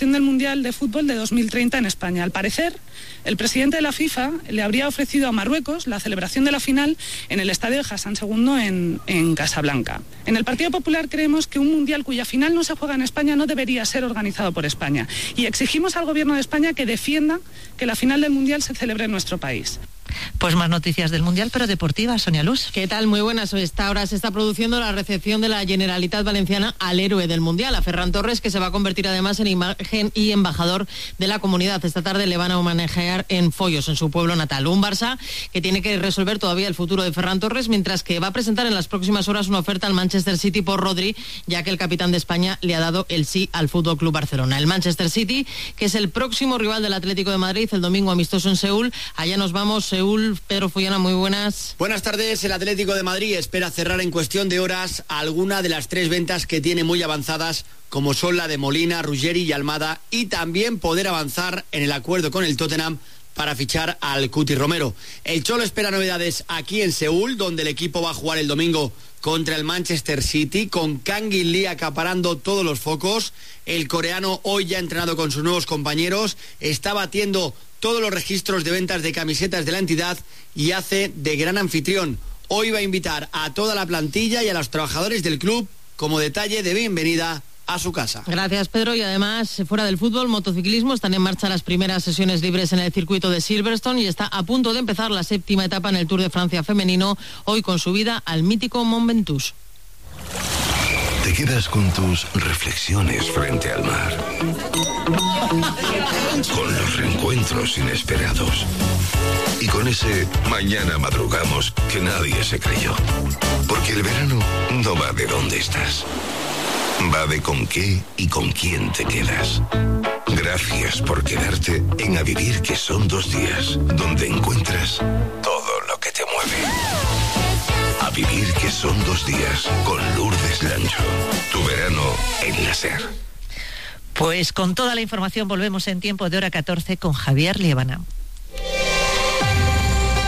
celebración del Mundial de Fútbol de 2030 en España. Al parecer, el presidente de la FIFA le habría ofrecido a Marruecos la celebración de la final en el estadio de Hassan II en Casablanca. En el Partido Popular creemos que un Mundial cuya final no se juega en España no debería ser organizado por España y exigimos al Gobierno de España que defienda que la final del Mundial se celebre en nuestro país. Pues más noticias del Mundial, pero deportivas. Sonia Luz. ¿Qué tal? Muy buenas. Esta hora se está produciendo la recepción de la Generalitat Valenciana al héroe del Mundial, a Ferran Torres, que se va a convertir además en imagen y embajador de la comunidad. Esta tarde le van a homenajear en Foyos, en su pueblo natal. Un Barça que tiene que resolver todavía el futuro de Ferran Torres, mientras que va a presentar en las próximas horas una oferta al Manchester City por Rodri, ya que el capitán de España le ha dado el sí al Fútbol Club Barcelona. El Manchester City, que es el próximo rival del Atlético de Madrid, el domingo amistoso en Seúl. Allá nos vamos, Seúl. Pedro Follana, muy buenas. Buenas tardes. El Atlético de Madrid espera cerrar en cuestión de horas alguna de las 3 ventas que tiene muy avanzadas, como son la de Molina, Ruggeri y Almada, y también poder avanzar en el acuerdo con el Tottenham para fichar al Cuti Romero. El Cholo espera novedades aquí en Seúl, donde el equipo va a jugar el domingo contra el Manchester City, con Kang In Lee acaparando todos los focos. El coreano, hoy ya entrenado con sus nuevos compañeros, está batiendo todos los registros de ventas de camisetas de la entidad y hace de gran anfitrión. Hoy va a invitar a toda la plantilla y a los trabajadores del club como detalle de bienvenida a su casa. Gracias, Pedro. Y además, fuera del fútbol, motociclismo, están en marcha las primeras sesiones libres en el circuito de Silverstone y está a punto de empezar la 7ª etapa en el Tour de Francia femenino, hoy con subida al mítico Mont Ventoux. Te quedas con tus reflexiones frente al mar, con los reencuentros inesperados y con ese mañana madrugamos que nadie se creyó. Porque el verano no va de dónde estás, va de con qué y con quién te quedas. Gracias por quedarte en A Vivir, que son 2 días, donde encuentras todo lo que te mueve. A Vivir, que son 2 días, con Lourdes Lancho. Tu verano en la SER. Pues con toda la información volvemos en tiempo de hora 14 con Javier Liébana.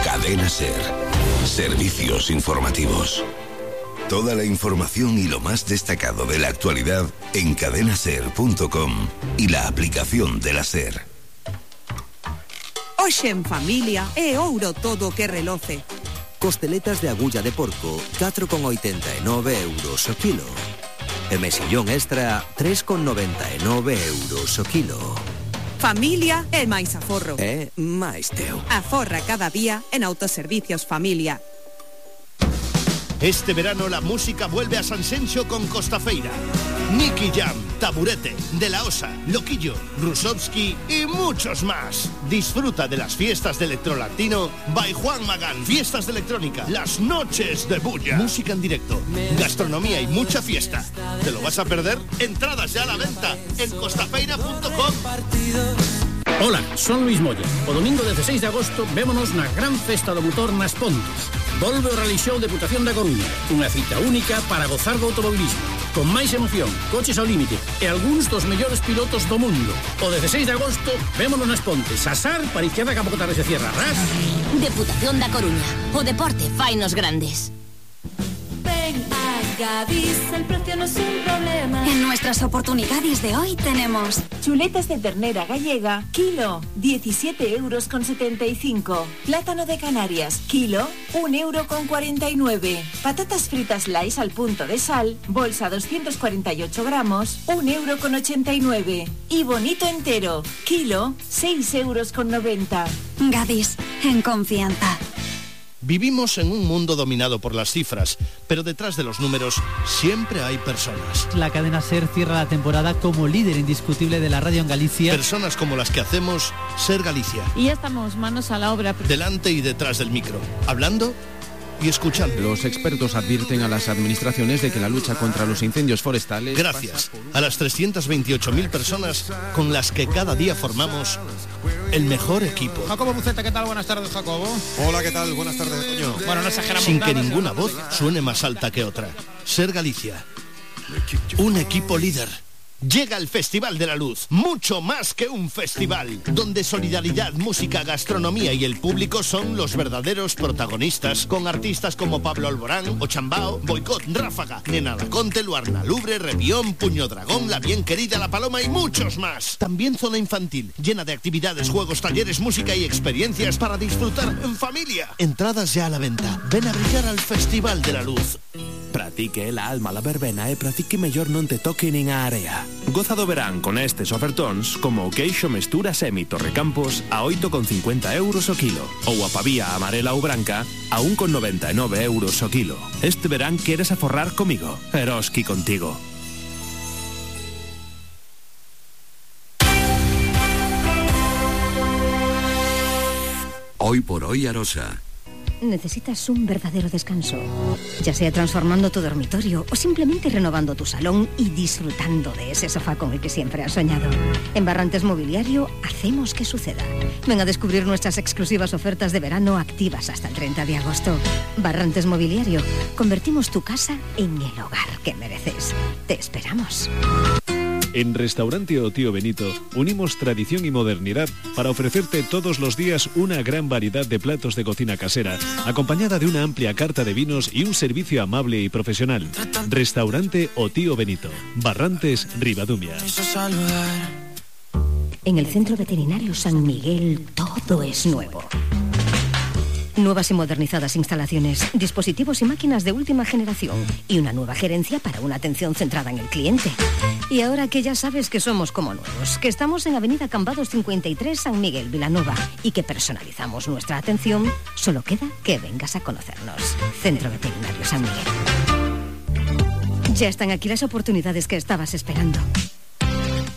Cadena SER. Servicios informativos. Toda la información y lo más destacado de la actualidad en cadenaser.com y la aplicación de la SER. Hoxe en familia é ouro todo que reloce. Costeletas de agulla de porco, 4,89 euros o kilo. E mexillón extra, 3,99 euros o kilo. Familia é máis aforro. É máis teu. Aforra cada día en Autoservicios Familia. Este verano la música vuelve a San Senxo con Costafeira. Nicky Jam, Taburete, De La Osa, Loquillo, Rusovsky y muchos más. Disfruta de las fiestas de Electrolatino by Juan Magán. Fiestas de electrónica, las noches de bulla. Música en directo, gastronomía y mucha fiesta. ¿Te lo vas a perder? Entradas ya a la venta en costafeira.com. Hola, son Luis Moya. O domingo 16 de agosto vémonos na gran festa do motor nas Pontes. Volve o Rally Show Deputación da Coruña, unha cita única para gozar do automobilismo, con máis emoción, coches ao límite e algúns dos mellores pilotos do mundo. O 16 de agosto vémonos nas Pontes, asar para izquierda que a pouco tarde se cierra. Ras. Deputación da Coruña, o deporte fainos grandes. Ven a Gadis, el precio no es un problema. En nuestras oportunidades de hoy tenemos chuletas de ternera gallega, kilo, 17,75 euros. Plátano de Canarias, kilo, 1,49 euros. Patatas fritas Lays al punto de sal, bolsa 248 gramos, 1,89 euros. Y bonito entero, kilo, 6,90 euros. Gadis, en confianza. Vivimos en un mundo dominado por las cifras, pero detrás de los números siempre hay personas. La cadena SER cierra la temporada como líder indiscutible de la radio en Galicia. Personas como las que hacemos SER Galicia. Y ya estamos manos a la obra. Delante y detrás del micro, hablando y escuchando. Los expertos advierten a las administraciones de que la lucha contra los incendios forestales... Gracias a las 328.000 personas con las que cada día formamos el mejor equipo. Jacobo Buceta, ¿qué tal? Buenas tardes, Jacobo. Hola, ¿qué tal? Buenas tardes, Toño. Bueno, no exageramos. Sin que ninguna voz suene más alta que otra. SER Galicia. Un equipo líder. Llega el Festival de la Luz, mucho más que un festival, donde solidaridad, música, gastronomía y el público son los verdaderos protagonistas, con artistas como Pablo Alborán, Ochambao, Boicot, Ráfaga, Nena Laconte, Luarna Lubre, Revión, Puño Dragón, La Bien Querida, La Paloma y muchos más. También zona infantil, llena de actividades, juegos, talleres, música y experiencias para disfrutar en familia. Entradas ya a la venta. Ven a brillar al Festival de la Luz. Pratique la alma la verbena e pratique mellor non te toque nin a area. Goza do verán con estes ofertóns como o queixo mestura Semi Torrecampos a 8,50 euros o kilo ou a pavía amarela ou branca a 1,99 euros o kilo. Este verán queres aforrar comigo. Eroski contigo. Hoy por hoy Arosa. Necesitas un verdadero descanso, ya sea transformando tu dormitorio o simplemente renovando tu salón y disfrutando de ese sofá con el que siempre has soñado. En Barrantes Mobiliario hacemos que suceda. Ven a descubrir nuestras exclusivas ofertas de verano activas hasta el 30 de agosto. Barrantes Mobiliario, convertimos tu casa en el hogar que mereces. Te esperamos. En Restaurante O Tío Benito unimos tradición y modernidad para ofrecerte todos los días una gran variedad de platos de cocina casera, acompañada de una amplia carta de vinos y un servicio amable y profesional. Restaurante O Tío Benito, Barrantes, Ribadumia. En el Centro Veterinario San Miguel todo es nuevo. Nuevas y modernizadas instalaciones, dispositivos y máquinas de última generación y una nueva gerencia para una atención centrada en el cliente. Y ahora que ya sabes que somos como nuevos, que estamos en Avenida Cambados 53, San Miguel, Vilanova, y que personalizamos nuestra atención, solo queda que vengas a conocernos. Centro Veterinario San Miguel. Ya están aquí las oportunidades que estabas esperando.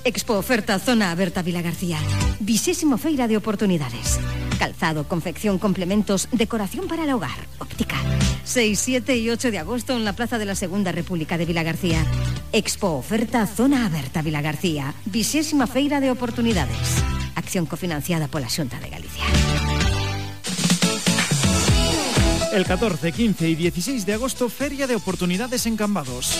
Expo Oferta Zona Aberta Vilagarcía. 20ª Feira de Oportunidades. Calzado, confección, complementos, decoración para el hogar, óptica. 6, 7 y 8 de agosto en la Plaza de la Segunda República de Vilagarcía. Expo Oferta Zona Aberta Vilagarcía. 20ª Feira de Oportunidades. Acción cofinanciada por la Xunta de Galicia. El 14, 15 y 16 de agosto, Feria de Oportunidades en Cambados.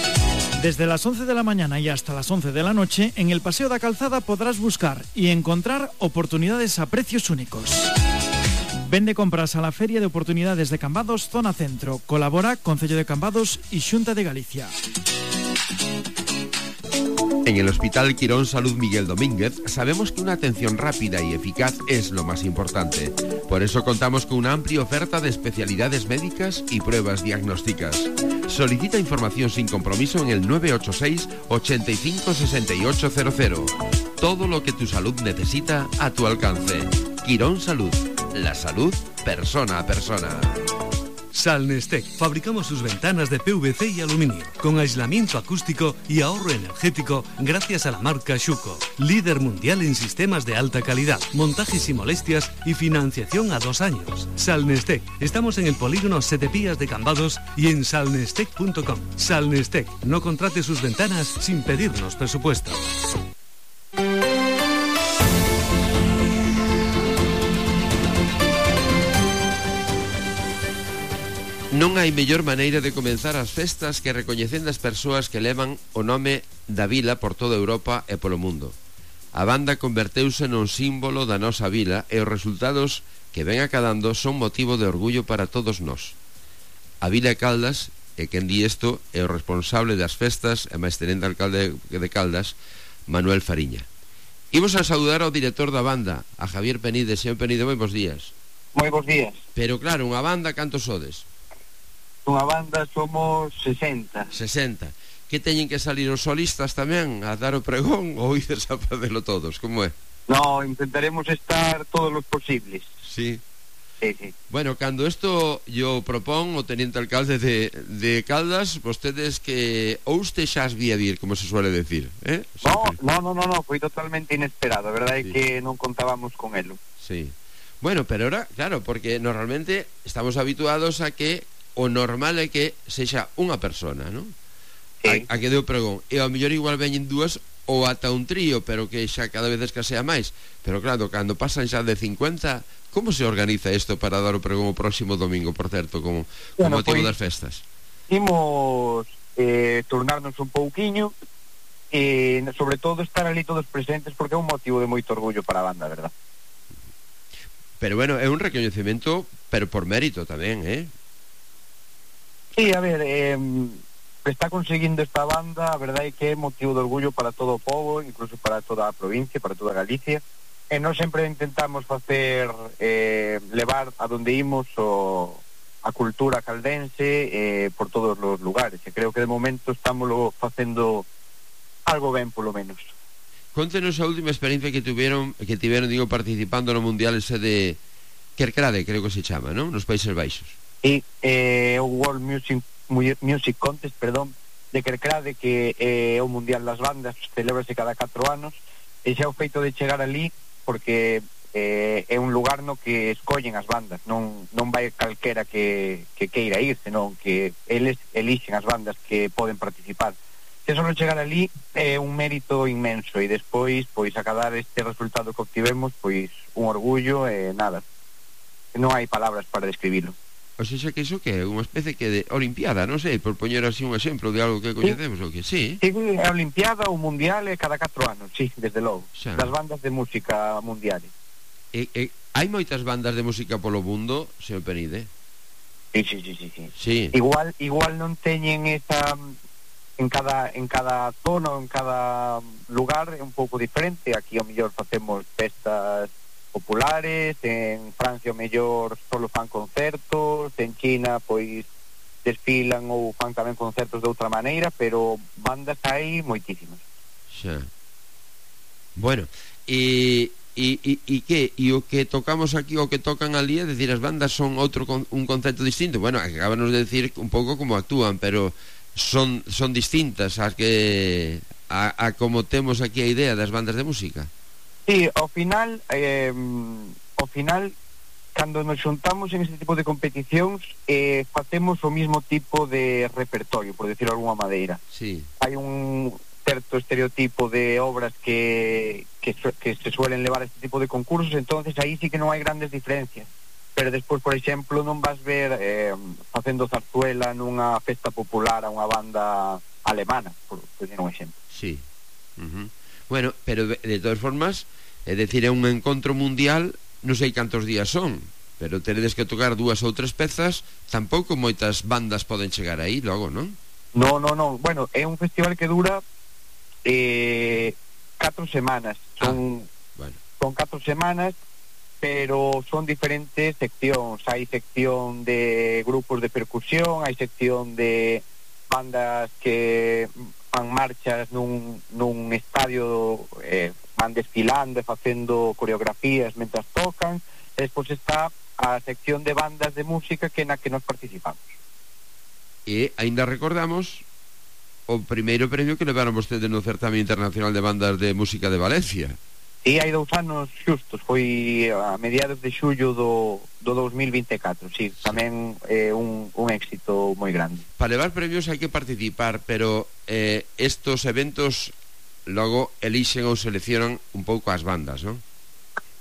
Desde las 11 de la mañana y hasta las 11 de la noche, en el Paseo da Calzada podrás buscar y encontrar oportunidades a precios únicos. Vende compras a la Feria de Oportunidades de Cambados, Zona Centro. Colabora Concello de Cambados y Xunta de Galicia. En el Hospital Quirón Salud Miguel Domínguez sabemos que una atención rápida y eficaz es lo más importante. Por eso contamos con una amplia oferta de especialidades médicas y pruebas diagnósticas. Solicita información sin compromiso en el 986 85 6800. Todo lo que tu salud necesita a tu alcance. Quirón Salud. La salud persona a persona. Salnestec. Fabricamos sus ventanas de PVC y aluminio, con aislamiento acústico y ahorro energético gracias a la marca Schuco, líder mundial en sistemas de alta calidad, montajes y molestias y financiación a 2 años. Salnestec. Estamos en el polígono Setepías de Cambados y en salnestec.com. Salnestec. No contrate sus ventanas sin pedirnos presupuesto. Non hai mellor maneira de comenzar as festas que recoñecendo as persoas que levan o nome da vila por toda Europa e polo mundo. A banda converteuse nun símbolo da nosa vila e os resultados que ven acadando son motivo de orgullo para todos nós. A Vila de Caldas, e quen di isto, é o responsable das festas e máis tenente alcalde de Caldas, Manuel Fariña. Imos a saudar ao director da banda, a Javier Penide. Señor Penide, moi bons días. Moi bons días. Pero claro, unha banda, cantos sodes? Unha banda somos 60. 60. Que teñen que salir os solistas tamén a dar o pregón ou ides a facelo todos? Como é? No, intentaremos estar todos os posibles. Sí. Sí, sí. Bueno, cando isto yo propón o teniente alcalde de Caldas, vostedes que ou usted xa as vía vir, como se suele decir, eh? No, foi totalmente inesperado, a verdade é que non contábamos con elo. Sí. Bueno, pero ahora, claro, porque normalmente estamos habituados a que o normal é que sexa unha persona, non? Sí. A que deu pregón. E ao mellor igual veñen dúas ou ata un trío, pero que xa cada vez escasea máis. Pero claro, cando pasan xa de 50, como se organiza isto para dar o pregón o próximo domingo, por certo, como motivo das festas? Imos turnarnos un pouquiño e sobre todo estar ali todos presentes porque é un motivo de moito orgullo para a banda, verdad? Pero bueno, é un recoñecemento, pero por mérito tamén, Sí, a ver, está conseguindo esta banda, a verdade é que é motivo de orgullo para todo o povo, incluso para toda a provincia, para toda Galicia, e nós sempre intentamos facer levar a donde imos a cultura caldense por todos os lugares, e creo que de momento estamos facendo algo ben, polo menos. Contenos a última experiencia que tiveron, digo, participando no Mundial ese de Kerkrade, creo que se chama, non? Nos Países Baixos. E o World Music Contest, de Kerkrade, que é o Mundial das Bandas, celebrase cada 4 anos, e xa o feito de chegar ali, porque é un lugar no que escollen as bandas, non vai calquera que queira ir, senón que eles elixen as bandas que poden participar. Se só chegar ali é un mérito inmenso, e despois, pois, acadar este resultado que obtivemos, pois, un orgullo e nada. Non hai palabras para describilo. O sea, que iso que é unha especie que de olimpiada, non sei, por poñer así un exemplo de algo que coñecemos, o que sí. Sí, a olimpiada ou mundial é cada 4 anos, sí, desde logo, das bandas de música mundiales. Hai moitas bandas de música polo mundo, señor Penide? Sí. Igual non teñen esa... En cada zona ou en cada lugar é un pouco diferente. Aquí ao mellor facemos festas populares, en Francia ao mellor solo fan concertos, en China pois desfilan ou fan tamén concertos de outra maneira, pero bandas hai moitísimas. Xa. Bueno, e que? E o que tocamos aquí, o que tocan ali, é dicir, as bandas son un concepto distinto. Bueno, acabamos de decir un pouco como actúan, pero son distintas a como temos aquí a idea das bandas de música. Sí, ao final cando nos xuntamos en ese tipo de competicións facemos o mismo tipo de repertorio, por decirlo de alguma maneira. Sí. Hai un certo estereotipo de obras que se suelen levar a este tipo de concursos, entonces aí sí que non hai grandes diferencias. Pero despois, por exemplo, non vas ver facendo zarzuela nunha festa popular a unha banda alemana, por decir un exemplo. Sí. Bueno, pero de todas formas, é dicir, é un encontro mundial, non sei cantos días son, pero teredes que tocar 2 ou 3 pezas, tampouco moitas bandas poden chegar aí logo, non? Non. Bueno, é un festival que dura 4 semanas. Son 4 semanas, pero son diferentes seccións. Hai sección de grupos de percusión, hai sección de bandas que fan marchas nun estadio, van desfilando e facendo coreografías mentras tocan, e despois está a sección de bandas de música na que nos participamos. E aínda recordamos o primeiro premio que levaron vostedes no certame internacional de bandas de música de Valencia. E hai 2 anos xustos, foi a mediados de xullo do 2024, sí, tamén é un éxito moi grande. Para levar premios hai que participar, pero estos eventos logo elixen ou seleccionan un pouco as bandas, non?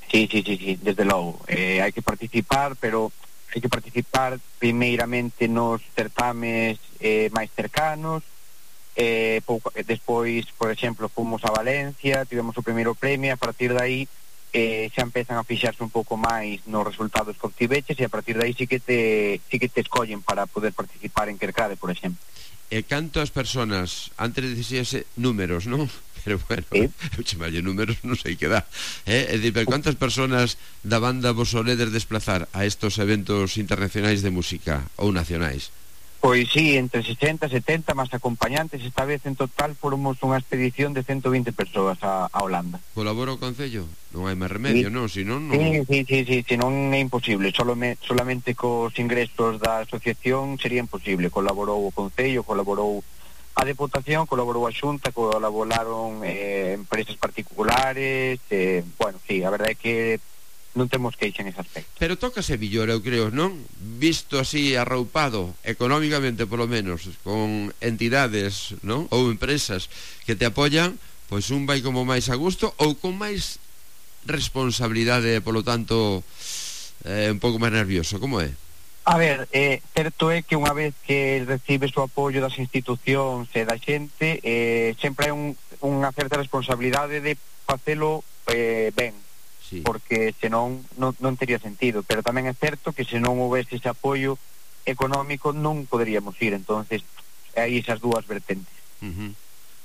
Sí, desde logo. Hai que participar, pero hai que participar primeiramente nos certames máis cercanos. Despois, por exemplo, fomos a Valencia, tivemos o primeiro premio, a partir de aí xa empezan a fixarse un pouco máis nos resultados que obtiveches, e a partir de aí sí que te escollen para poder participar en Kerkrade, por exemplo. E cantas personas, antes de dicirse números, non? Pero bueno, eu chamalle números, non sei que dá. É dicir, pero cantas personas da banda vos soledes desplazar a estos eventos internacionais de música ou nacionais? Pois sí, entre 60 e 70 máis acompañantes. Esta vez en total formos unha expedición de 120 persoas a Holanda. Colabora o Concello? Non hai máis remedio, non? Si non, non... Sí, non é imposible. Solamente cos ingresos da asociación sería imposible. Colaborou o Concello, colaborou a Deputación, colaborou a Xunta, colaboraron empresas particulares. Bueno, sí, a verdade é que non temos queixa nese aspecto. Pero tócase millor, eu creo, non? Visto así arroupado, económicamente polo menos, con entidades, non? Ou empresas que te apoyan, pois un vai como máis a gusto ou con máis responsabilidade, polo tanto un pouco máis nervioso, como é? A ver, certo é que unha vez que recibes o apoio das institucións e da xente, sempre hai unha certa responsabilidade de facelo ben, sí. Porque senón non tería sentido, pero tamén é certo que se non houvese ese apoio económico non poderíamos ir, entonces hai esas dúas vertentes.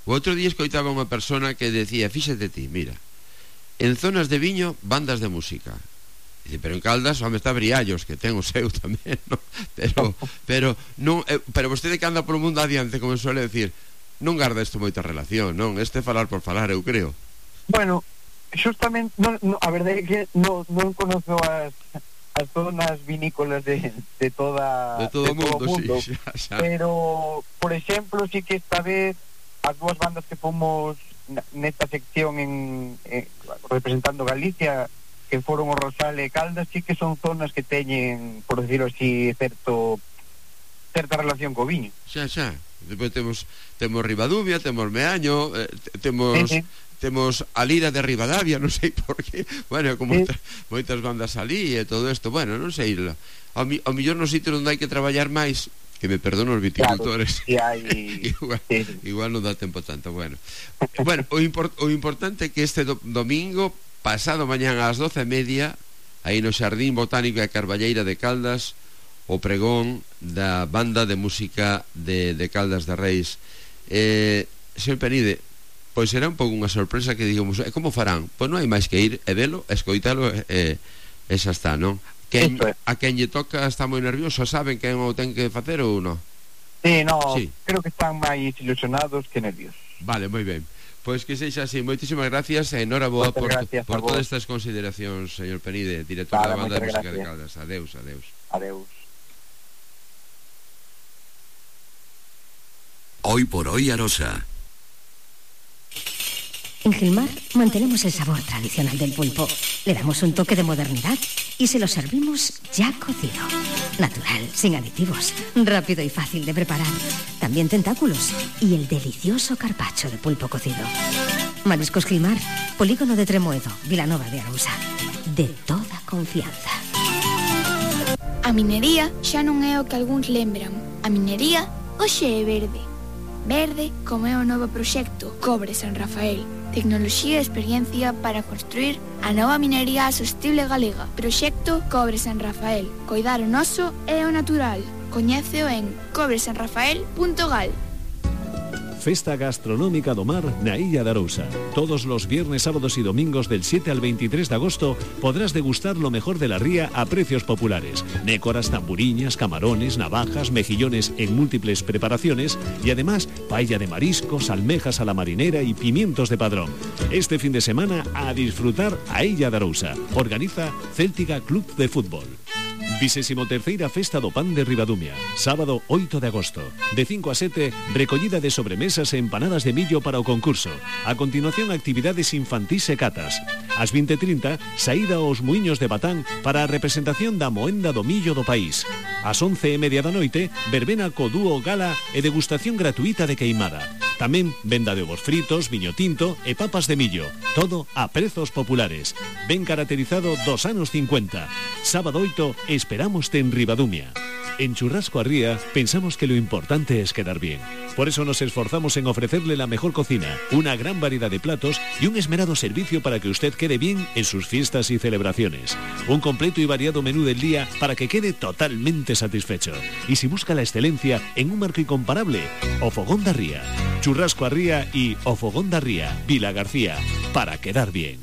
O outro día escoitaba unha persona que decía, fíxate ti, mira, en zonas de viño, bandas de música. Dice, pero en Caldas, home, está Briallos, que ten o seu tamén, ¿no? Pero vostede que anda polo mundo adiante, como suele decir, non garda isto moita relación, non? Este falar por falar, eu creo. Bueno, justamente, a verdade é que non conozo as zonas vinícolas de todo o mundo, sí, xa. Pero, por exemplo, sí que esta vez as dúas bandas que fomos nesta sección representando Galicia, que foron o Rosal e Caldas, sí que son zonas que teñen, por decirlo así, certa relación co viño. Xa. Depois temos Ribadumia, temos Meaño, temos a Lira de Ribadavia, non sei por qué. Bueno, como moitas bandas alí e todo isto. Bueno, non sei. Ao mellor no sitio onde hai que traballar máis, que me perdono os viticultores, claro, igual non dá tempo tanto. Bueno, o importante é que este domingo, pasado mañán ás 12:30, aí no Xardín Botánico e Carballeira de Caldas, o pregón da banda de música de Caldas de Reis. Señor Penide, pois será un pouco unha sorpresa que digamos, como farán? Pois non hai máis que ir e velo, escoitalo e xa está, non? A quen lle toca está moi nervioso, saben quen o ten que facer ou non? Sí, creo que están máis ilusionados que nerviosos. Vale, moi ben. Pois que sexa así, moitísimas gracias e enhoraboa por todas estas consideracións, señor Penide, director da banda de música de Caldas. Adeus. Hoy por hoy Arosa. En Gilmar mantenemos el sabor tradicional del pulpo. Le damos un toque de modernidad y se lo servimos ya cocido. Natural, sin aditivos, rápido y fácil de preparar. También tentáculos y el delicioso carpaccio de pulpo cocido. Mariscos Gilmar, Polígono de Tremoedo, Vilanova de Arousa. De toda confianza. A minería xa non é o que algúns lembran. A minería hoxe é verde. Verde como é o novo proxecto Cobre San Rafael. Tecnoloxía e experiencia para construir a nova minería sostible galega. Proxecto Cobre San Rafael. Coidar o noso e o natural. Coñéceo en cobresanrafael.gal. Festa Gastronómica do Mar na Illa de Arousa. Todos los viernes, sábados y domingos del 7 al 23 de agosto podrás degustar lo mejor de la ría a precios populares. Nécoras, tamburiñas, camarones, navajas, mejillones en múltiples preparaciones y además paella de mariscos, almejas a la marinera y pimientos de padrón. Este fin de semana a disfrutar a Illa de Arousa. Organiza Céltica Club de Fútbol. 23ª Festa do Pan de Ribadumia, sábado 8 de agosto. De 5 a 7, recollida de sobremesas e empanadas de millo para o concurso. A continuación, actividades infantís e catas. Ás 20:30, saída aos Muiños de Batán para a representación da moenda do millo do país. Ás 11:30 da noite, verbena co dúo gala e degustación gratuita de queimada. Tamén venda de ovos fritos, viño tinto e papas de millo. Todo a prezos populares. Ben caracterizado dos anos 50. Sábado 8, esperámoste en Ribadumia. En Churrasco a Ría pensamos que lo importante es quedar bien. Por eso nos esforzamos en ofrecerle la mejor cocina, una gran variedad de platos y un esmerado servicio para que usted quede bien en sus fiestas y celebraciones. Un completo y variado menú del día para que quede totalmente satisfecho. Y si busca la excelencia en un marco incomparable, O Fogón da Ría. Churrasco a Ría y O Fogón da Ría, Vila García, para quedar bien.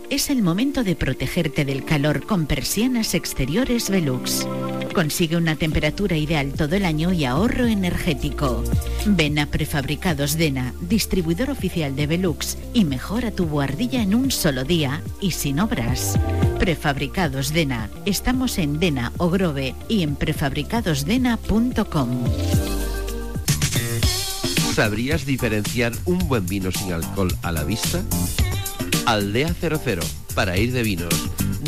Es el momento de protegerte del calor con persianas exteriores Velux. Consigue una temperatura ideal todo el año y ahorro energético. Ven a Prefabricados Dena, distribuidor oficial de Velux, y mejora tu buhardilla en un solo día y sin obras. Prefabricados Dena. Estamos en Dena o Grove y en prefabricadosdena.com. ¿Sabrías diferenciar un buen vino sin alcohol a la vista? Aldea 00, para ir de vinos,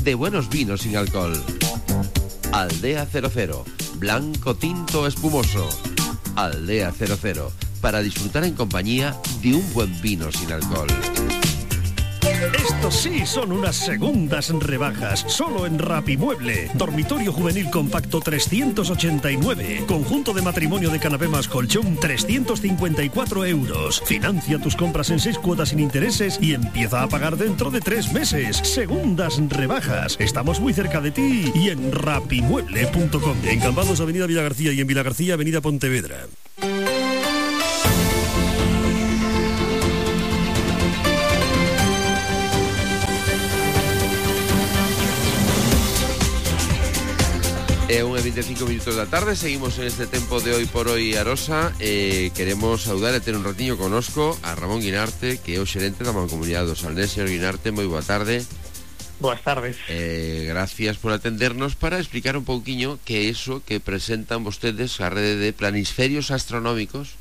de buenos vinos sin alcohol. Aldea 00, blanco, tinto, espumoso. Aldea 00, para disfrutar en compañía de un buen vino sin alcohol. Estos sí son unas segundas rebajas, solo en Rapimueble. Dormitorio juvenil compacto 389. Conjunto de matrimonio de canapé más colchón 354 euros. Financia tus compras en 6 cuotas sin intereses y empieza a pagar dentro de 3 meses. Segundas rebajas. Estamos muy cerca de ti y en rapimueble.com. En Cambados, Avenida Villagarcía, y en Villagarcía, Avenida Pontevedra. É 1:25 minutos da tarde. Seguimos en este tempo de Hoy por Hoy Arosa. Queremos saudar e ter un ratiño conosco a Ramón Guinarte, que é o xerente da Mancomunidade do Salnés. Señor Guinarte, moi boa tarde. Boas tardes. Gracias por atendernos para explicar un pouquiño que é iso que presentan vostedes a rede de planisferios astronómicos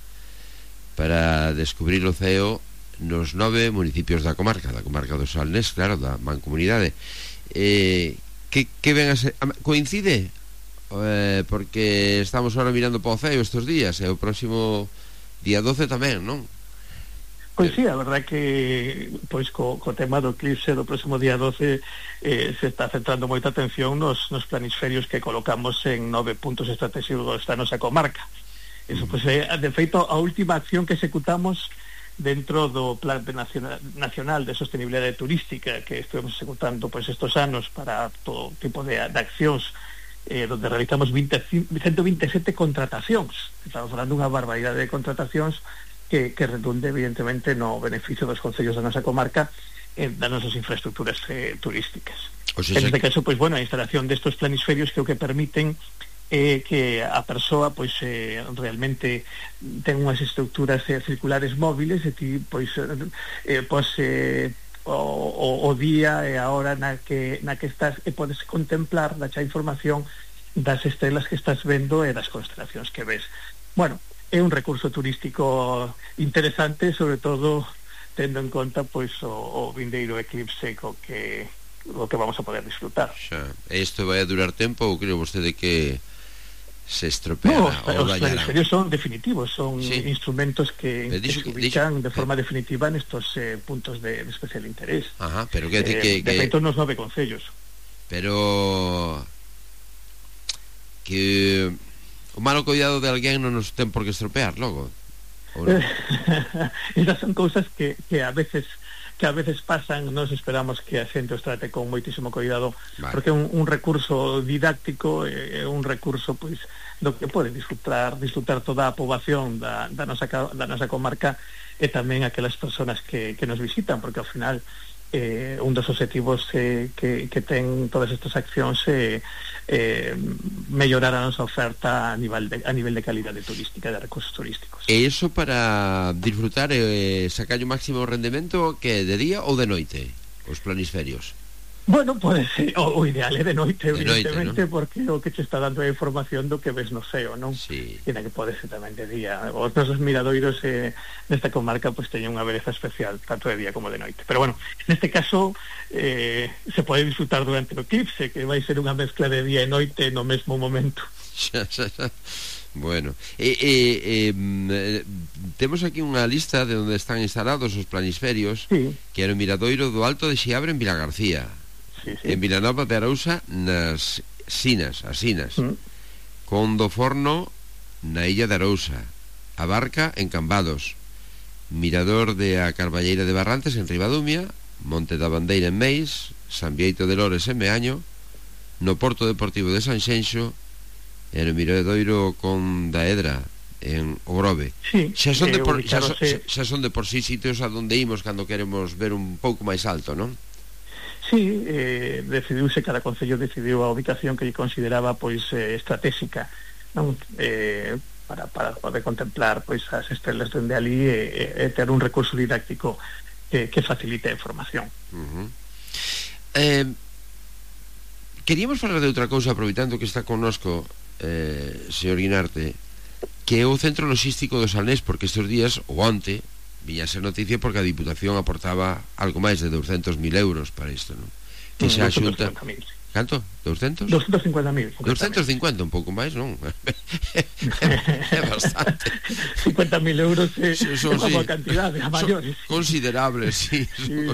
para descubrir o ceo nos 9 municipios da comarca do Salnés, claro, da Mancomunidade. Que ven a ser... Coincide? Porque estamos ahora mirando para o ceo estes días, e o próximo día 12 tamén, non? Pois sí, a verdad que pois co tema do eclipse do próximo día 12 se está centrando moita atención nos planisferios que colocamos en 9 puntos estratégicos da nosa comarca. Eso, pois, de feito, a última acción que executamos dentro do Plan Nacional de Sostenibilidade Turística que estuvemos executando pois estos anos para todo tipo de accións, donde realizamos 127 contratacións. Estamos falando dunha barbaridade de contratacións que redunde evidentemente no beneficio dos concellos da nosa comarca, das nosas infraestructuras turísticas. En este caso, pois, bueno, a instalación destos planisferios que o que permiten que a persoa pois realmente ten unhas estructuras circulares móviles e ti pois o día e a hora na que estás e podes contemplar, dacha información das estrelas que estás vendo e das constelacións que ves. Bueno, é un recurso turístico interesante, sobre todo tendo en conta pois o vindeiro eclipse co que vamos a poder disfrutar. Xa, isto vai a durar tempo ou creo vostede que se estropeará? No, os planisferios son definitivos, son instrumentos que se ubican de forma definitiva nestos puntos de especial interés. Ajá, pero que de feito nos 9 concellos. Pero que o malo cuidado de alguén non nos ten por que estropear logo. Esas son cousas que a veces pasan. Nos esperamos que a xente os trate con moitísimo cuidado, porque é un recurso didáctico, é un recurso pois do que pode disfrutar toda a poboación da nosa comarca e tamén aquelas persoas que nos visitan, porque ao final un dos objetivos que ten todas estas accións é mellorar a nosa oferta a nivel de calidade turística, de recursos turísticos. E iso para disfrutar e sacar o máximo rendemento, que de día ou de noite, os planisferios? Bueno, pode ser, o ideal é de noite, evidentemente, ¿no? Porque o que che está dando a información do que ves no ceo, non? Sí. E na que pode ser tamén de día. Os nosos miradoiros nesta comarca pois teñen unha beleza especial, tanto de día como de noite. Pero bueno, neste caso se pode disfrutar durante o eclipse, que vai ser unha mezcla de día e noite no mesmo momento. Bueno, temos aquí unha lista de onde están instalados os planisferios, que era o miradoiro do Alto de Xiabre en Vilagarcía, en Vilanova de Arousa nas Sinas, con do Forno na Illa de Arousa, a Barca en Cambados, Mirador de a Carballeira de Barrantes en Ribadumia, Monte da Bandeira en Meis, San Bieito de Lores en Meaño, no Porto Deportivo de Sanxenxo e no miradoiro con da Edra en Ogrove. Xa son de por sí sitios a donde imos cando queremos ver un pouco máis alto, non? Sí, decidiuse, cada concello decidiu a ubicación que lle consideraba pois estratégica, non? Para poder contemplar pois as estrelas dende ali e ter un recurso didáctico que facilite a información. Queríamos falar de outra cousa, aproveitando que está connosco señor Guinarte, que é o Centro Logístico do Salnés, porque estes días, ou onte, viña a ser noticia porque a Diputación aportaba algo máis de 200.000 euros para isto, non? Que xa a Xunta Canto? 200? 250.000. 250, un pouco máis, non? É bastante. 50.000 euros é como a cantidade, a maiores. Considerables, sí. Sí.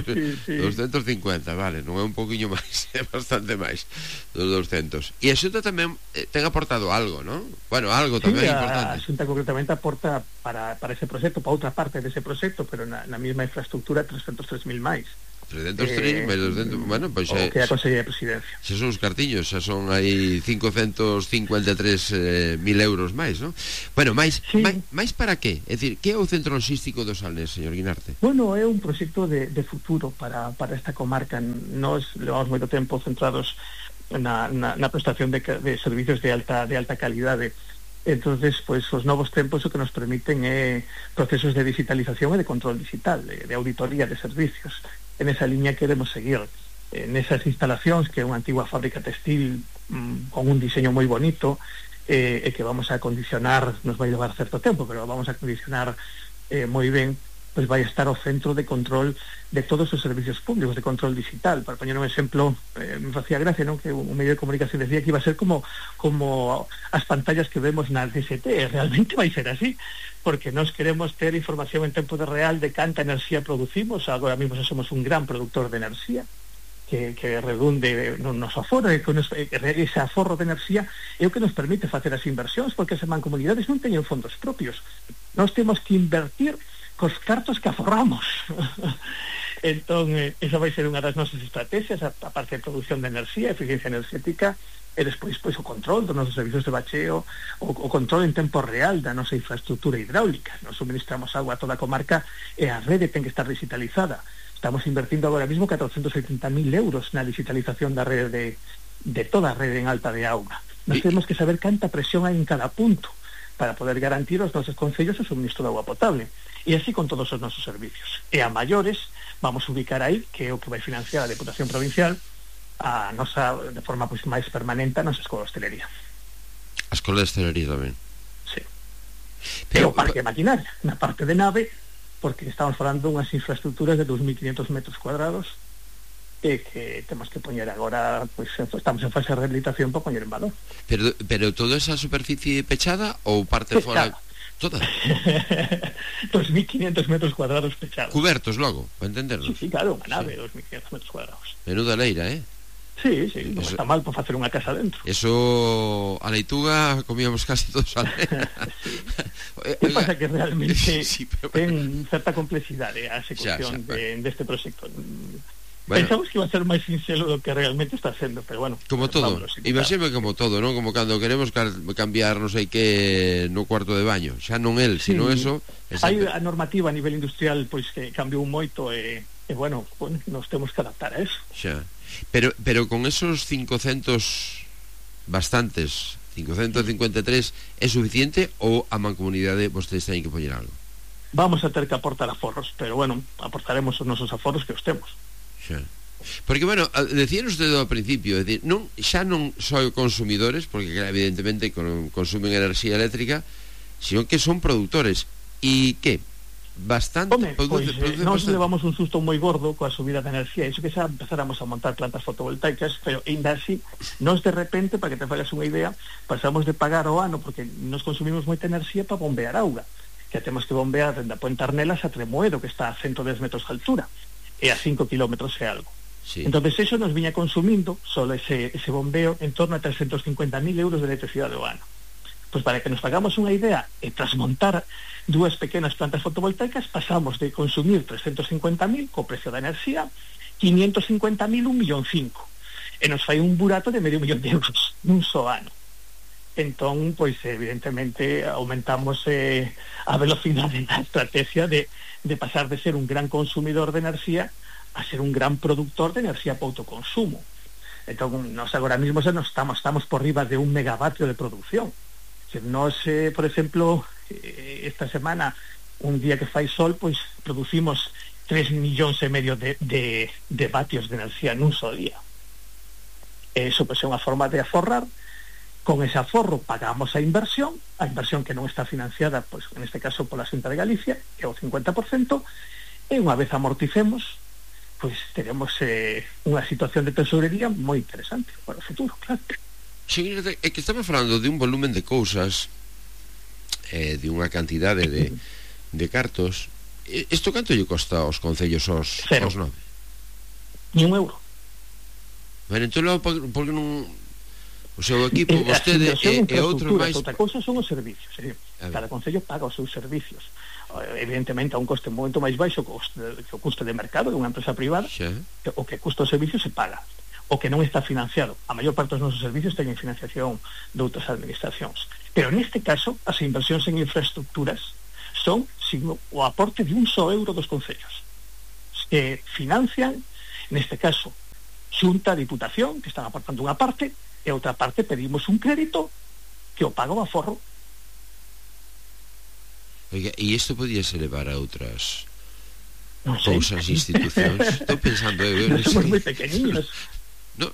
250, vale, non é un poquinho máis, é bastante máis dos 200. E a Xunta tamén ten aportado algo, non? Bueno, algo tamén importante. A Xunta concretamente aporta para ese proxecto, para outra parte dese proxecto, pero na mesma infraestructura 303.000 máis. 303 máis 200, bueno, pois o que a Consellería de Presidencia. Se son os cartiños, xa son aí 553.000 euros máis, non? Bueno, máis para que? É dicir, que é o centro logístico do Salnés, señor Guinarte? Bueno, é un proxecto de futuro para esta comarca. Nós levamos moito tempo centrados na prestación de servicios de alta calidade. Entonces, pues os novos tempos o que nos permiten é procesos de digitalización e de control digital, de auditoría de servicios. En esa línea queremos seguir. En esas instalacións, que é unha antigua fábrica textil con un diseño moi bonito, e que vamos a acondicionar, nos vai levar certo tempo, pero vamos a acondicionar moi ben, pues vai estar o centro de control de todos os servicios públicos, de control digital. Para poñer un exemplo, me facía gracia, non, que un medio de comunicación decía que iba a ser como as pantallas que vemos na DST. Realmente vai ser así, porque nós queremos ter información en tempo de real de canta enerxía producimos. Agora mesmo somos un gran productor de enerxía que redunde no noso aforro, e ese aforro de enerxía é o que nos permite facer as inversións, porque as mancomunidades non teñen fondos propios. Nós temos que invertir cos cartos que aforramos. Entón, esa vai ser unha das nosas estrategias, a parte de produción de enerxía, eficiencia enerxética, e despois pois o control dos nosos servicios de bacheo, o control en tempo real da nosa infraestructura hidráulica. Nos suministramos agua a toda a comarca e a rede ten que estar digitalizada. Estamos invertindo agora mesmo 470.000 euros na digitalización da rede de toda a rede en alta de auga. Nos temos que saber canta presión hai en cada punto para poder garantir aos nosos concellos o suministro de agua potable. E así con todos os nosos servicios. E a maiores vamos a ubicar aí, que é o que vai financiar a Deputación Provincial, a nosa, de forma pois máis permanente, a nosa escola de hostelería. A escola de hostelería tamén. Sí. Pero o parque de maquinaria, na parte de nave, porque estamos falando unhas infraestructuras de 2.500 metros cuadrados e que temos que poñer agora, pois estamos en fase de rehabilitación para poñer en valor. Pero toda esa superficie pechada ou parte fora? Toda. 2.500 metros cuadrados pechados. Cubertos logo, para entendernos. Sí, claro, unha nave, 2.500 metros cuadrados. Menuda leira, Sí, non está mal para facer unha casa dentro. Eso, a leituga comíamos casi todos a leira. Que pasa que realmente ten certa complexidade a execución deste proxecto. Pensamos que iba a ser máis sincero do que realmente está sendo, pero bueno, como todo, imagíname como todo, non? Como cando queremos cambiar non sei que no cuarto de baño, xa non el, sino eso. Hai a normativa a nivel industrial pois que cambiou moito e bueno, nos temos que adaptar a eso. Xa. Pero con esos 500 bastantes, 553 é suficiente ou a mancomunidade vostedes teñen que poñer algo? Vamos a ter que aportar aforros, pero bueno, aportaremos os nosos aforros que os temos. Xa. Porque, bueno, decían usted ao principio, decir, xa non só consumidores, porque evidentemente consumen enerxía eléctrica, sino que son produtores. E que? Bastante. Nós levamos un susto moi gordo coa subida de enerxía, iso que xa empezáramos a montar plantas fotovoltaicas, pero ainda así, nós de repente, para que te fagas unha idea, pasamos de pagar ao ano, porque nos consumimos moita enerxía para bombear auga, que temos que bombear dende a Puente Arnelas a Tremoedo, que está a 110 metros de altura, e a 5 kilómetros e algo. Sí. Entonces eso nos viña consumindo solo ese bombeo en torno a 350.000 euros de electricidade ao ano. Pois para que nos pagamos unha idea, e tras montar dúas pequenas plantas fotovoltaicas pasamos de consumir 350.000 co precio da enerxía, 550.000, 1,5 millón, e nos fai un burato de medio millón de euros nun só ano. Entón, pois evidentemente aumentamos a velocidade da estrategia de pasar de ser un gran consumidor de enerxía a ser un gran productor de enerxía para autoconsumo. Entón, nós agora mesmo estamos por riba de 1 megavatio de producción. Nós, por exemplo, esta semana, un día que fai sol, pois producimos 3,5 millóns de vatios de enerxía nun só día. Eso pois é unha forma de aforrar. Con ese aforro pagamos a inversión que non está financiada, pois, en este caso pola Xunta de Galicia, que é o 50%, e unha vez amorticemos, pois teremos unha situación de tesorería moi interesante para o futuro, claro. Sí, é que estamos falando de un volumen de cousas, de unha cantidade de cartos. Isto canto lle costa aos concellos aos 9? Ni un euro. Bueno, entón logo, porque non... O seu equipo, vostede e outros máis... Outra cousa son os servicios. Cada concello paga os seus servicios. Evidentemente a un coste moito máis baixo que o custo de mercado de unha empresa privada. O que custa o servicio se paga. O que non está financiado. A maior parte dos nosos servicios teñen financiación de outras administracións. Pero neste caso, as inversións en infraestructuras son o aporte de un só euro dos concellos, que financian, neste caso, Xunta, Diputación, que están aportando unha parte, e outra parte pedimos un crédito que o paga o aforro. Oiga, e isto podíase levar a outras cousas, institucións? Estou pensando... somos moi pequeniños. No,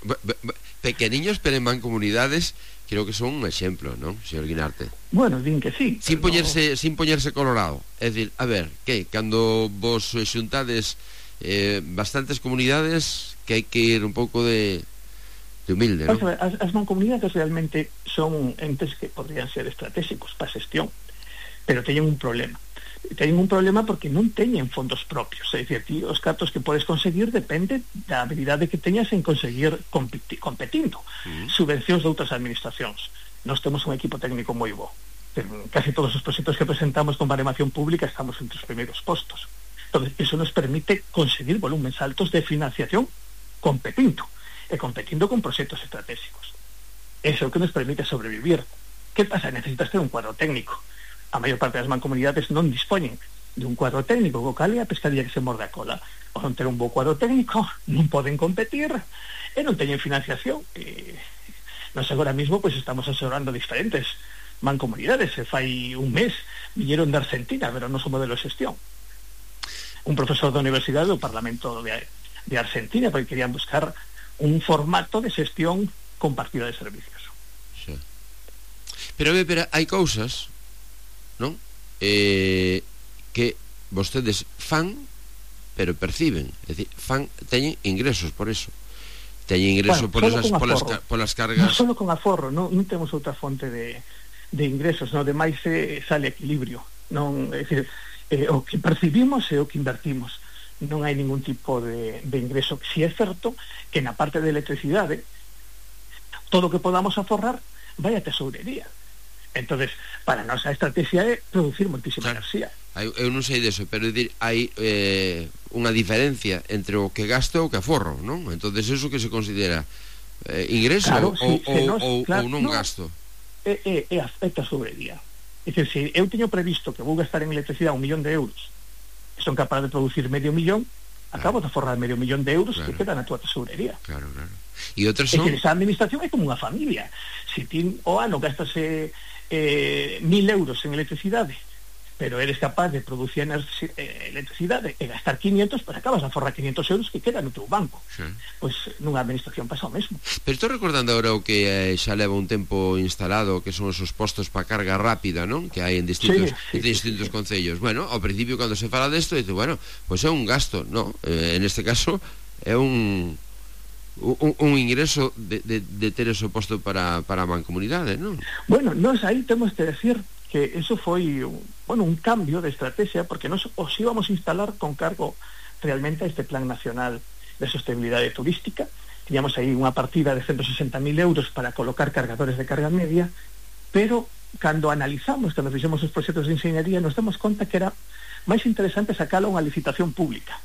pequeniños, pero en mancomunidades creo que son un exemplo, non, señor Guinarte? Bueno, din que sí. Sin poñerse colorado. É dicir, a ver, que cando vos xuntades bastantes comunidades, que hai que ir un pouco de humilde, non? As mancomunidades realmente son entes que podrían ser estratégicos para a xestión, pero teñen un problema. Teñen un problema porque non teñen fondos propios. É dicir, ti os cartos que podes conseguir depende da habilidade que teñas en conseguir competindo. Subvencións de outras administracións. Nós temos un equipo técnico moi bo. Casi todos os proxectos que presentamos con baremación pública estamos entre os primeiros postos. Entonces, eso nos permite conseguir volúmenes altos de financiación competindo. E competindo con proxectos estratégicos. Eso é o que nos permite sobrevivir. Que pasa? Necesitas ter un cuadro técnico. A maior parte das mancomunidades non dispoñen de un cuadro técnico, co cal é a pescaría que se morde a cola. O non ter un bo cuadro técnico, non poden competir e non teñen financiación. Nos agora mismo pois estamos asesorando diferentes mancomunidades. Se fai un mes viñeron de Argentina, pero non son modelo de xestión. Un profesor da Universidade do Parlamento de Argentina, porque querían buscar un formato de xestión compartida de servicios. Sí. Pero hai cousas, non? Que vostedes fan, pero perciben. É dicir, teñen ingresos por eso. Teñen ingresos polas cargas. Non solo con aforro, non temos outra fonte de ingresos, non, demais sale equilibrio. Non, é dicir, o que percibimos e o que invertimos. Non hai ningún tipo de ingreso. Si é certo que na parte de electricidade todo o que podamos aforrar vai a tesourería. Entonces, para nós a estrategia é producir moitísima enerxía. Eu non sei deso, pero decir, hai unha diferencia entre o que gasto e o que aforro, non? Entonces, eso que se considera ingreso, claro, ou non gasto? É tesourería. É dicir, se eu teño previsto que vou gastar en electricidade 1 millón de euros, son capaz de producir medio millón, acabo de forrar medio millón de euros que queda na tua tesourería. Claro. E outras son... Esa administración é como unha familia. Se ti o ano gastase 1.000 euros en electricidade, pero eres capaz de producir electricidade e gastar 500, pues acabas a forrar 500 euros que quedan no teu banco. Pois nunha administración pasa o mesmo. Pero estou recordando agora o que xa leva un tempo instalado, que son esos postos para carga rápida, non? Que hai en distintos concellos. Bueno, ao principio cando se fala desto, dice, bueno, pois é un gasto, no, en este caso é un ingreso de ter ese posto para a mancomunidade, non? Bueno, nós aí temos que decir que eso foi un cambio de estrategia, porque nos os íbamos a instalar con cargo realmente a este Plan Nacional de Sostenibilidade Turística. Teníamos aí unha partida de 160.000 euros para colocar cargadores de carga media, pero cando fixemos os proxectos de ingeniería, nos damos conta que era máis interesante sacalo a unha licitación pública.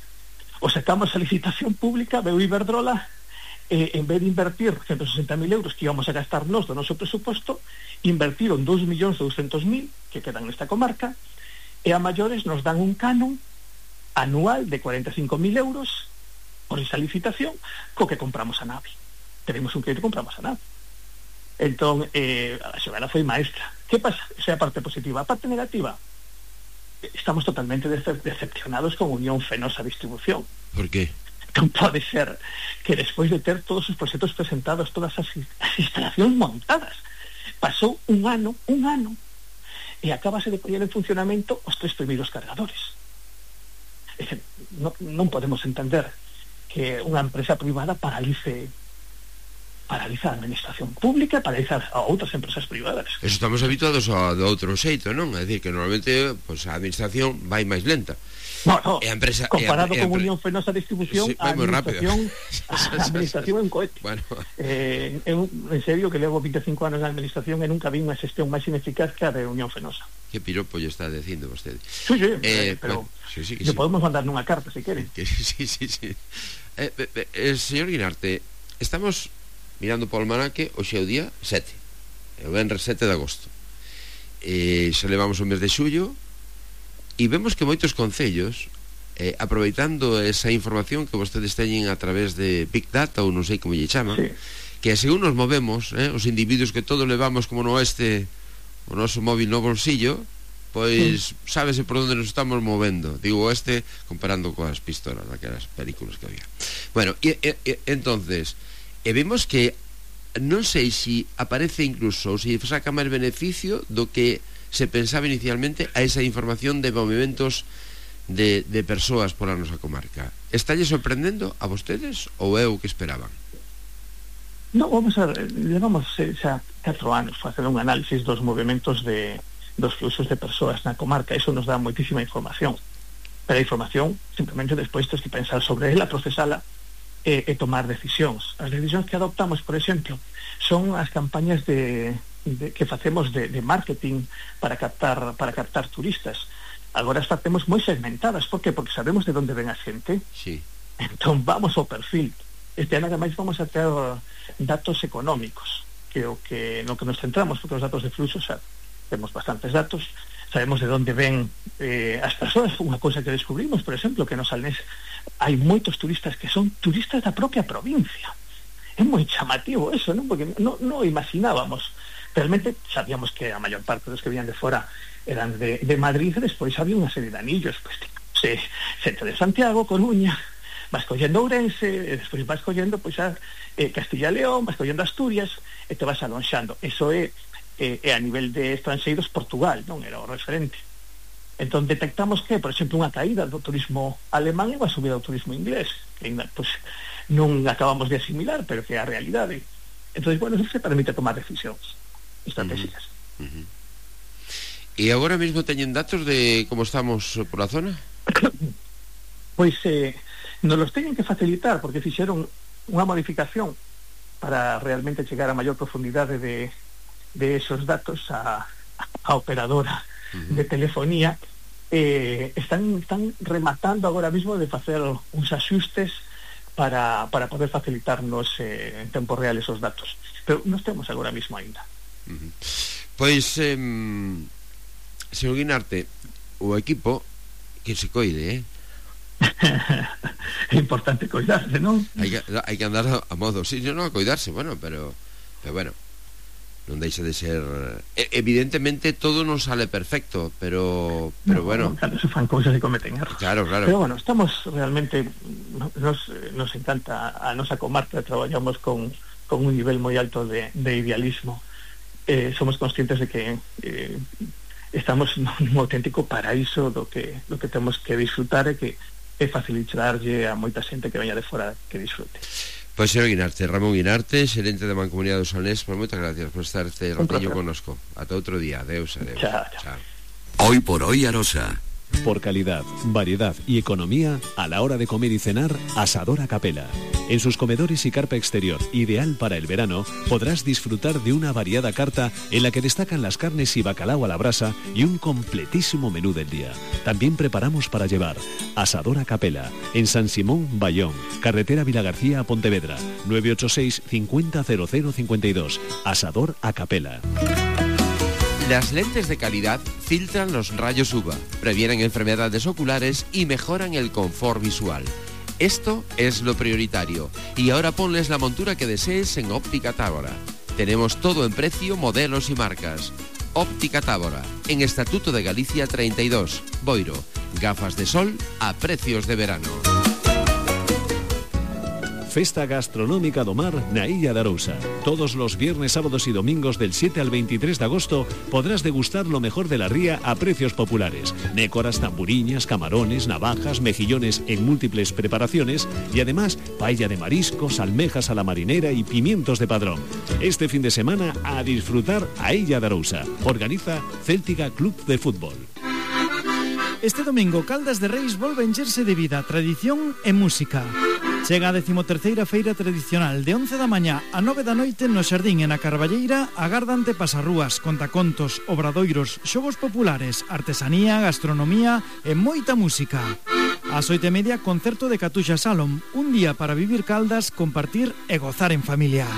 O sacamos a licitación pública, veu Iberdrola, en vez de invertir 160.000 euros que íbamos a gastar nós do noso presuposto, invertiron 2.200.000 que quedan nesta comarca, e a maiores nos dan un canon anual de 45.000 euros por esa licitación co que compramos a nave. Tenemos un crédito e compramos a nave. Entón, a xogada foi maestra. Que pasa? Esa é a parte positiva. A parte negativa, estamos totalmente decepcionados con Unión Fenosa Distribución. Por qué? Non pode ser que despois de ter todos os proxectos presentados, todas as instalacións montadas, pasou un ano e acabase de poñer en funcionamento os 3 primeiros cargadores. Non podemos entender que unha empresa privada paralice a administración pública, paraliza a outras empresas privadas. Eso estamos habituados do outro xeito, non? É dicir, que normalmente pues, a administración vai máis lenta. No, e a empresa, comparado con Unión Fenosa Distribución, sí, a administración é un cohete. Bueno. En serio que levo 25 anos na administración e nunca vi unha xestión máis ineficaz que a de Unión Fenosa. Que piropo lle está dicindo vostede. Sí, pero sí, lle podemos mandar nunha carta, se queren. Sí. Señor Guinarte, estamos mirando polo almanaque, hoxe é o día 7, o venres 7 de agosto. Xa levamos o mes de xullo e vemos que moitos concellos, aproveitando esa información que vostedes teñen a través de Big Data, ou non sei como lle chaman, sí, que según nos movemos, os individuos que todos levamos como no o noso móvil no bolsillo, pois sábese por onde nos estamos movendo. Digo comparando coas pistolas daquelas películas que había. Bueno, entonces vemos que non sei se aparece incluso ou se saca máis beneficio do que se pensaba inicialmente a esa información de movimentos de persoas pola nosa comarca. Estalle sorprendendo a vostedes ou é o que esperaban? No, vamos a ver, levamos xa 4 anos facendo un análisis dos movimentos dos fluxos de persoas na comarca. Eso nos dá moitísima información, pero a información simplemente despois tens que pensar sobre ela, procesala e tomar decisións. As decisións que adoptamos, por exemplo, son as campañas que facemos de marketing para captar turistas. Agora as facemos moi segmentadas. Por qué? Porque sabemos de onde ven a xente. Sí. Entón vamos ao perfil. Este ano ademais vamos a ter datos económicos, que no que nos centramos, porque os datos de fluxo xa temos bastantes datos. Sabemos de onde ven as persoas. Unha cousa que descubrimos, por exemplo, que no Salnés hai moitos turistas que son turistas da propia provincia. É moi chamativo eso, non? Porque non imaginábamos. Realmente sabíamos que a maior parte dos que vían de fora eran de Madrid, e despois había unha serie de anillos, pues, centro de Santiago, Coruña, vas collendo Ourense, e despois vas collendo pois a Castilla e León, vas collendo Asturias, e te vas alonxando. Eso é a nivel de estranxeiros Portugal, non era o referente. Entón detectamos que, por exemplo, unha caída do turismo alemán e unha subida do turismo inglés, que ainda, pues, non acabamos de asimilar, pero que é a realidade. Entón, bueno, eso se permite tomar decisións estratégicas. E agora mesmo teñen datos de como estamos por la zona? Pois nos los teñen que facilitar, porque fixeron unha modificación para realmente chegar a maior profundidade de esos datos a operadora de telefonía. Están rematando agora mismo de facer uns axustes para poder facilitarnos en tempo real esos datos, pero nos temos agora mismo ainda. Pois señor Guinarte, o equipo que se coide, é importante coidarse, non? Hai que andar a modo, sí, non a coidarse, bueno, pero bueno, non deixa de ser, evidentemente todo non sale perfecto, pero bueno, cando se fan cousas e cometen erros. Claro. Pero bueno, estamos realmente, nos encanta a nosa comarca, traballamos con un nivel moi alto de idealismo. Somos conscientes de que estamos nun auténtico paraíso do que temos que disfrutar e que facilitarlle a moita xente que veña de fora que disfrute. Pois señor Guinarte, Ramón Guinarte, xerente da Mancomunidade do Salnés, pues moitas gracias por estar este ratillo connosco. Ata outro día, adeus. Chao. Hoy por hoy Arosa. Por calidad, variedad y economía, a la hora de comer y cenar, Asadora Capela. En sus comedores y carpa exterior, ideal para el verano, podrás disfrutar de una variada carta en la que destacan las carnes y bacalao a la brasa y un completísimo menú del día. También preparamos para llevar. Asadora Capela, en San Simón, Bayón, carretera Vilagarcía a Pontevedra, 986 50 00 52. Asador a Capela. Las lentes de calidad filtran los rayos UVA, previenen enfermedades oculares y mejoran el confort visual. Esto es lo prioritario. Y ahora ponles la montura que desees en Óptica Tábora. Tenemos todo en precio, modelos y marcas. Óptica Tábora, en Estatuto de Galicia 32, Boiro. Gafas de sol a precios de verano. Festa Gastronómica do Mar na Illa de Arousa. Todos los viernes, sábados y domingos del 7 al 23 de agosto podrás degustar lo mejor de la ría a precios populares. Nécoras, tamburiñas, camarones, navajas, mejillones en múltiples preparaciones y además paella de mariscos, almejas a la marinera y pimientos de padrón. Este fin de semana a disfrutar a Illa de Arousa. Organiza Céltica Club de Fútbol. Este domingo Caldas de Reis volve a encherse de vida, tradición e música. Chega a 13ª Feira Tradicional de 11 da mañá a 9 da noite no Xardín e na Carballeira. Agardante pasarrúas, contacontos, obradoiros, xogos populares, artesanía, gastronomía e moita música. Ás 8:30 concerto de Catuxa Salom, un día para vivir Caldas, compartir e gozar en familia.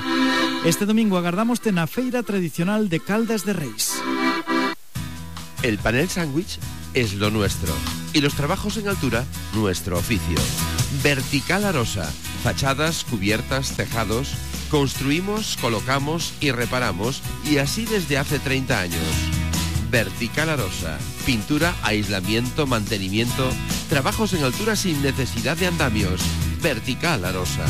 Este domingo agardámoste na Feira Tradicional de Caldas de Reis. El panel sándwich es lo nuestro y los trabajos en altura nuestro oficio. Vertical Arosa, fachadas, cubiertas, tejados, construimos, colocamos y reparamos, y así desde hace 30 años. Vertical Arosa, pintura, aislamiento, mantenimiento, trabajos en altura sin necesidad de andamios. Vertical Arosa.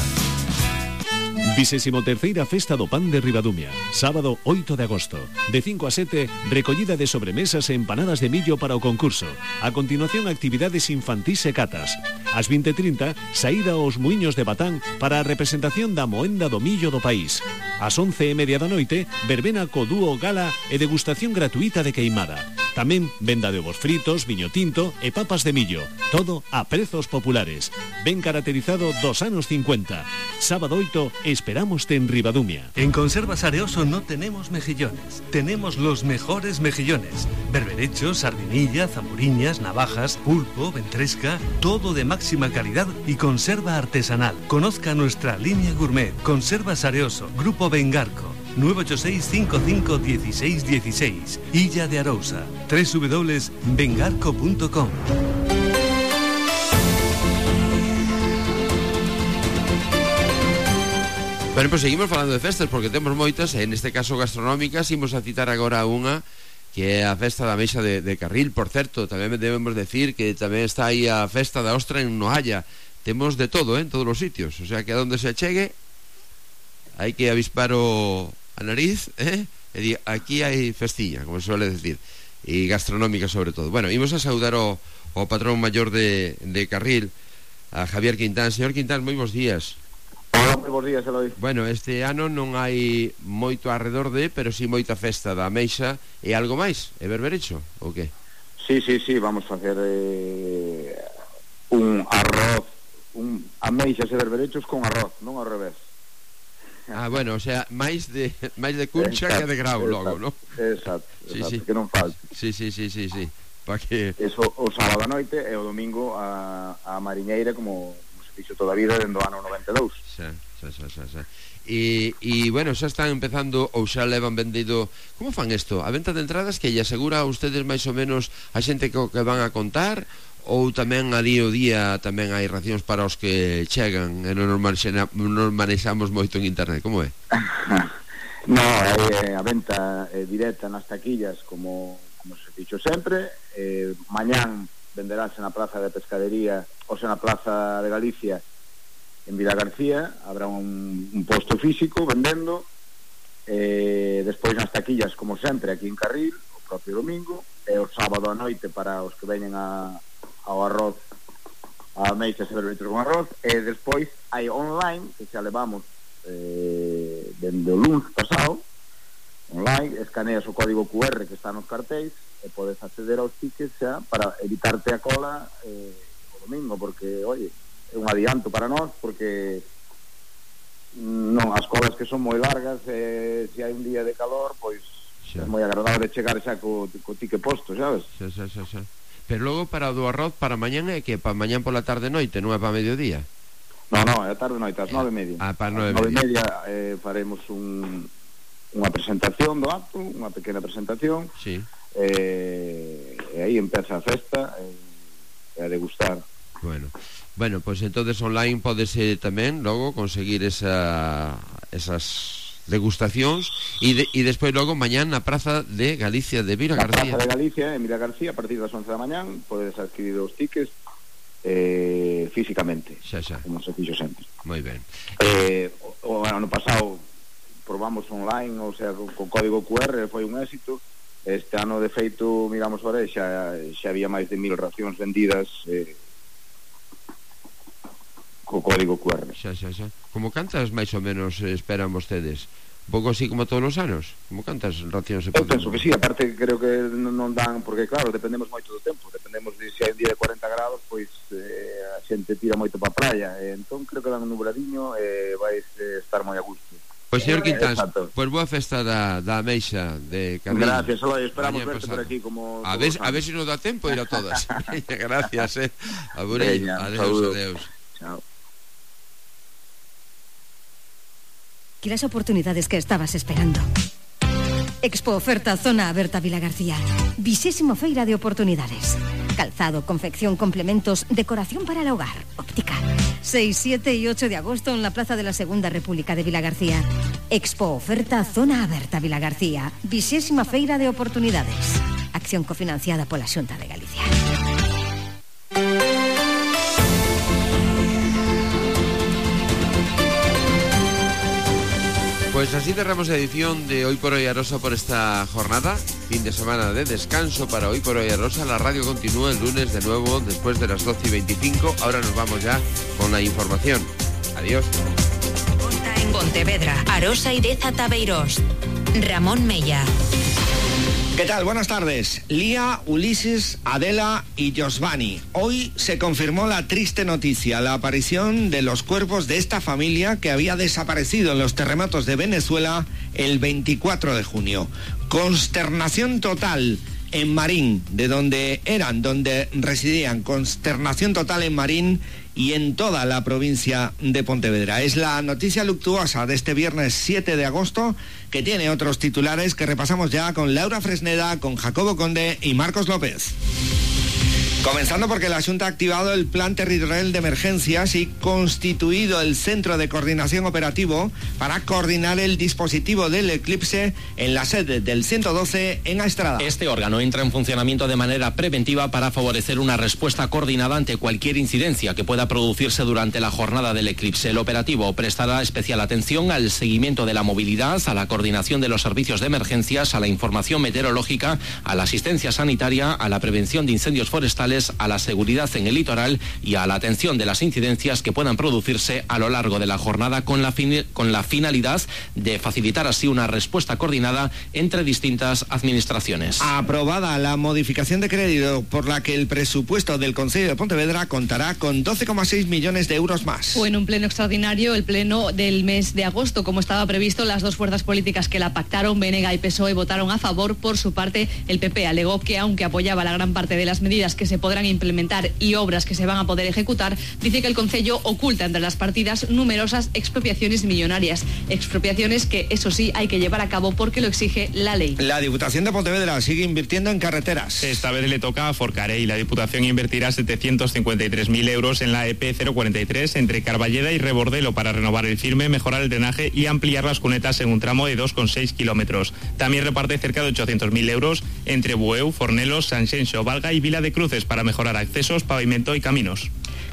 23ª Festa do Pan de Ribadumia, sábado 8 de agosto. De 5 a 7, recollida de sobremesas e empanadas de millo para o concurso. A continuación, actividades infantís e catas. Ás 20:30, saída aos muiños de Batán para a representación da moenda do millo do país. Ás 11:30 da noite, verbena co dúo gala e degustación gratuita de queimada. Tamén venda de ovos fritos, viño tinto e papas de millo. Todo a prezos populares. Ben caracterizado dos anos 50. Sábado 8, esperámoste en Ribadumia. En Conservas Areoso no tenemos mejillones, tenemos los mejores mejillones. Berberechos, sardinilla, zamburiñas, navajas, pulpo, ventresca, todo de máxima calidad y conserva artesanal. Conozca nuestra línea gourmet. Conservas Areoso, Grupo Bengarco. 986-55-1616, Illa de Arousa, www.bengarco.com. Bueno, pues seguimos falando de festas porque temos moitas, en este caso gastronómicas. Imos a citar agora unha que é a festa da Meixa de Carril. Por certo, tamén debemos decir que tamén está aí a festa da Ostra en Nohalla. Temos de todo, en todos os sitios, o sea que a donde se achegue hai que avispar a nariz, e aquí hai festiña, como se suele decir, e gastronómica sobre todo. Bueno, imos a saudar o patrón maior de Carril, a Javier Quintán. Señor Quintán, moi bons días. Hola, moi bons días, Eloi. Bueno, este ano non hai moito arredor de, pero si moita festa da Meixa. E algo máis? É berberecho, ou que? Sí, vamos facer un arroz, ameixas e berberechos con arroz, non ao revés. Ah, bueno, o sea, máis de cuncha que de grau logo, non? Exacto, sí. Que non falte. Sí. Pa que... Eso o sábado a noite e o domingo a mariñeira como se fixo toda a vida dende o ano 92. Xa. E bueno, xa están empezando ou xa levan vendido. Como fan isto? A venta de entradas que lle asegura a ustedes máis ou menos a xente que van a contar? Ou tamén ali o día tamén hai racións para os que chegan e non manexamos moito en internet? Como é? No, a venta directa nas taquillas como se fixo sempre. Mañán venderánse na Plaza de Pescadería, ou sea, na Plaza de Galicia en Vila García. Habrá un posto físico vendendo. Despois nas taquillas como sempre aquí en Carril o propio domingo, e o sábado a noite para os que veñen ao arroz, a meixas e berberechos con arroz. E despois hai online, que xa levamos dende o lunes pasado, online, escaneas o código QR que está nos cartéis e podes acceder aos tickets xa para evitarte a cola o domingo, porque, oye, é un adianto para nós, porque non, as colas que son moi largas, se hai un día de calor, pois é moi agradable chegar xa co ticket posto, sabes? Xa. Pero logo para o do arroz para mañán é que para mañán pola tarde noite, non é para mediodía? No, é a tarde noite, ás 9:30. Para 9:30 faremos unha presentación do acto, unha pequena presentación. Sí. E aí empeza a festa e a degustar. Bueno, pois entonces online podese tamén logo conseguir esas degustacións e despois logo mañán na Praza de Galicia de Vila García. Na Praza de Galicia, en Vila García, a partir das 11 da mañán podes adquirir os tickets físicamente, como se fixo sempre. Moi ben. O ano pasado probamos online, o sea, con código QR, foi un éxito. Este ano, de feito, miramos ahora e xa había máis de 1000 racións vendidas co código QR. Xa. Como cantas máis ou menos esperan vostedes? Un pouco así como todos os anos? Como cantas racións se poden? Eu penso que sí, aparte creo que non dan, porque claro, dependemos moito do tempo, dependemos de se hai un día de 40 grados, pois a xente tira moito pa praia, entón creo que dan un nubladiño e vais estar moi a gusto. Pois, señor Quintás, pois boa festa da Ameixa de Carrillo. Gracias, solo esperamos verte por aquí como... A ver se nos dá tempo ir a todas. Gracias, a Burillo. Adeus. Chao. Y las oportunidades que estabas esperando. Expo Oferta Zona Aberta Vilagarcía. 20ª Feira de Oportunidades. Calzado, confección, complementos, decoración para el hogar, óptica. 6, 7 y 8 de agosto en la Plaza de la Segunda República de Vilagarcía. Expo Oferta Zona Aberta Vilagarcía. 20ª Feira de Oportunidades. Acción cofinanciada por la Xunta de Galicia. Pues así cerramos la edición de Hoy por Hoy Arosa por esta jornada. Fin de semana de descanso para Hoy por Hoy Arosa. La radio continúa el lunes de nuevo después de las 12:25. Ahora nos vamos ya con la información. Adiós. En Pontevedra, Arosa y Deza Tabeirós. Ramón Mella. ¿Qué tal? Buenas tardes. Lía, Ulises, Adela y Josvani. Hoy se confirmó la triste noticia, la aparición de los cuerpos de esta familia que había desaparecido en los terremotos de Venezuela el 24 de junio. Consternación total en Marín, donde residían. Consternación total en Marín y en toda la provincia de Pontevedra. Es la noticia luctuosa de este viernes 7 de agosto, que tiene otros titulares que repasamos ya con Laura Fresneda, con Jacobo Conde y Marcos López. Comenzando porque la Xunta ha activado el Plan Territorial de Emergencias y constituido el Centro de Coordinación Operativo para coordinar el dispositivo del eclipse en la sede del 112 en Aestrada. Este órgano entra en funcionamiento de manera preventiva para favorecer una respuesta coordinada ante cualquier incidencia que pueda producirse durante la jornada del eclipse. El operativo prestará especial atención al seguimiento de la movilidad, a la coordinación de los servicios de emergencias, a la información meteorológica, a la asistencia sanitaria, a la prevención de incendios forestales, a la seguridad en el litoral y a la atención de las incidencias que puedan producirse a lo largo de la jornada con la finalidad de facilitar así una respuesta coordinada entre distintas administraciones. Aprobada la modificación de crédito por la que el presupuesto del Concello de Pontevedra contará con 12,6 millones de euros más. Fue en un pleno extraordinario, el pleno del mes de agosto, como estaba previsto. Las dos fuerzas políticas que la pactaron, BNG y PSOE, votaron a favor. Por su parte, el PP alegó que, aunque apoyaba la gran parte de las medidas que se podrán implementar y obras que se van a poder ejecutar, dice que el Concello oculta entre las partidas numerosas expropiaciones millonarias. Expropiaciones que, eso sí, hay que llevar a cabo porque lo exige la ley. La Diputación de Pontevedra sigue invirtiendo en carreteras. Esta vez le toca a Forcarey. La Diputación invertirá 753.000 euros en la EP 043 entre Carballeda y Rebordelo para renovar el firme, mejorar el drenaje y ampliar las cunetas en un tramo de 2,6 kilómetros. También reparte cerca de 800.000 euros entre Bueu, Fornelos, Sanxenxo, Valga y Vila de Cruces para mejorar accesos, pavimento y caminos.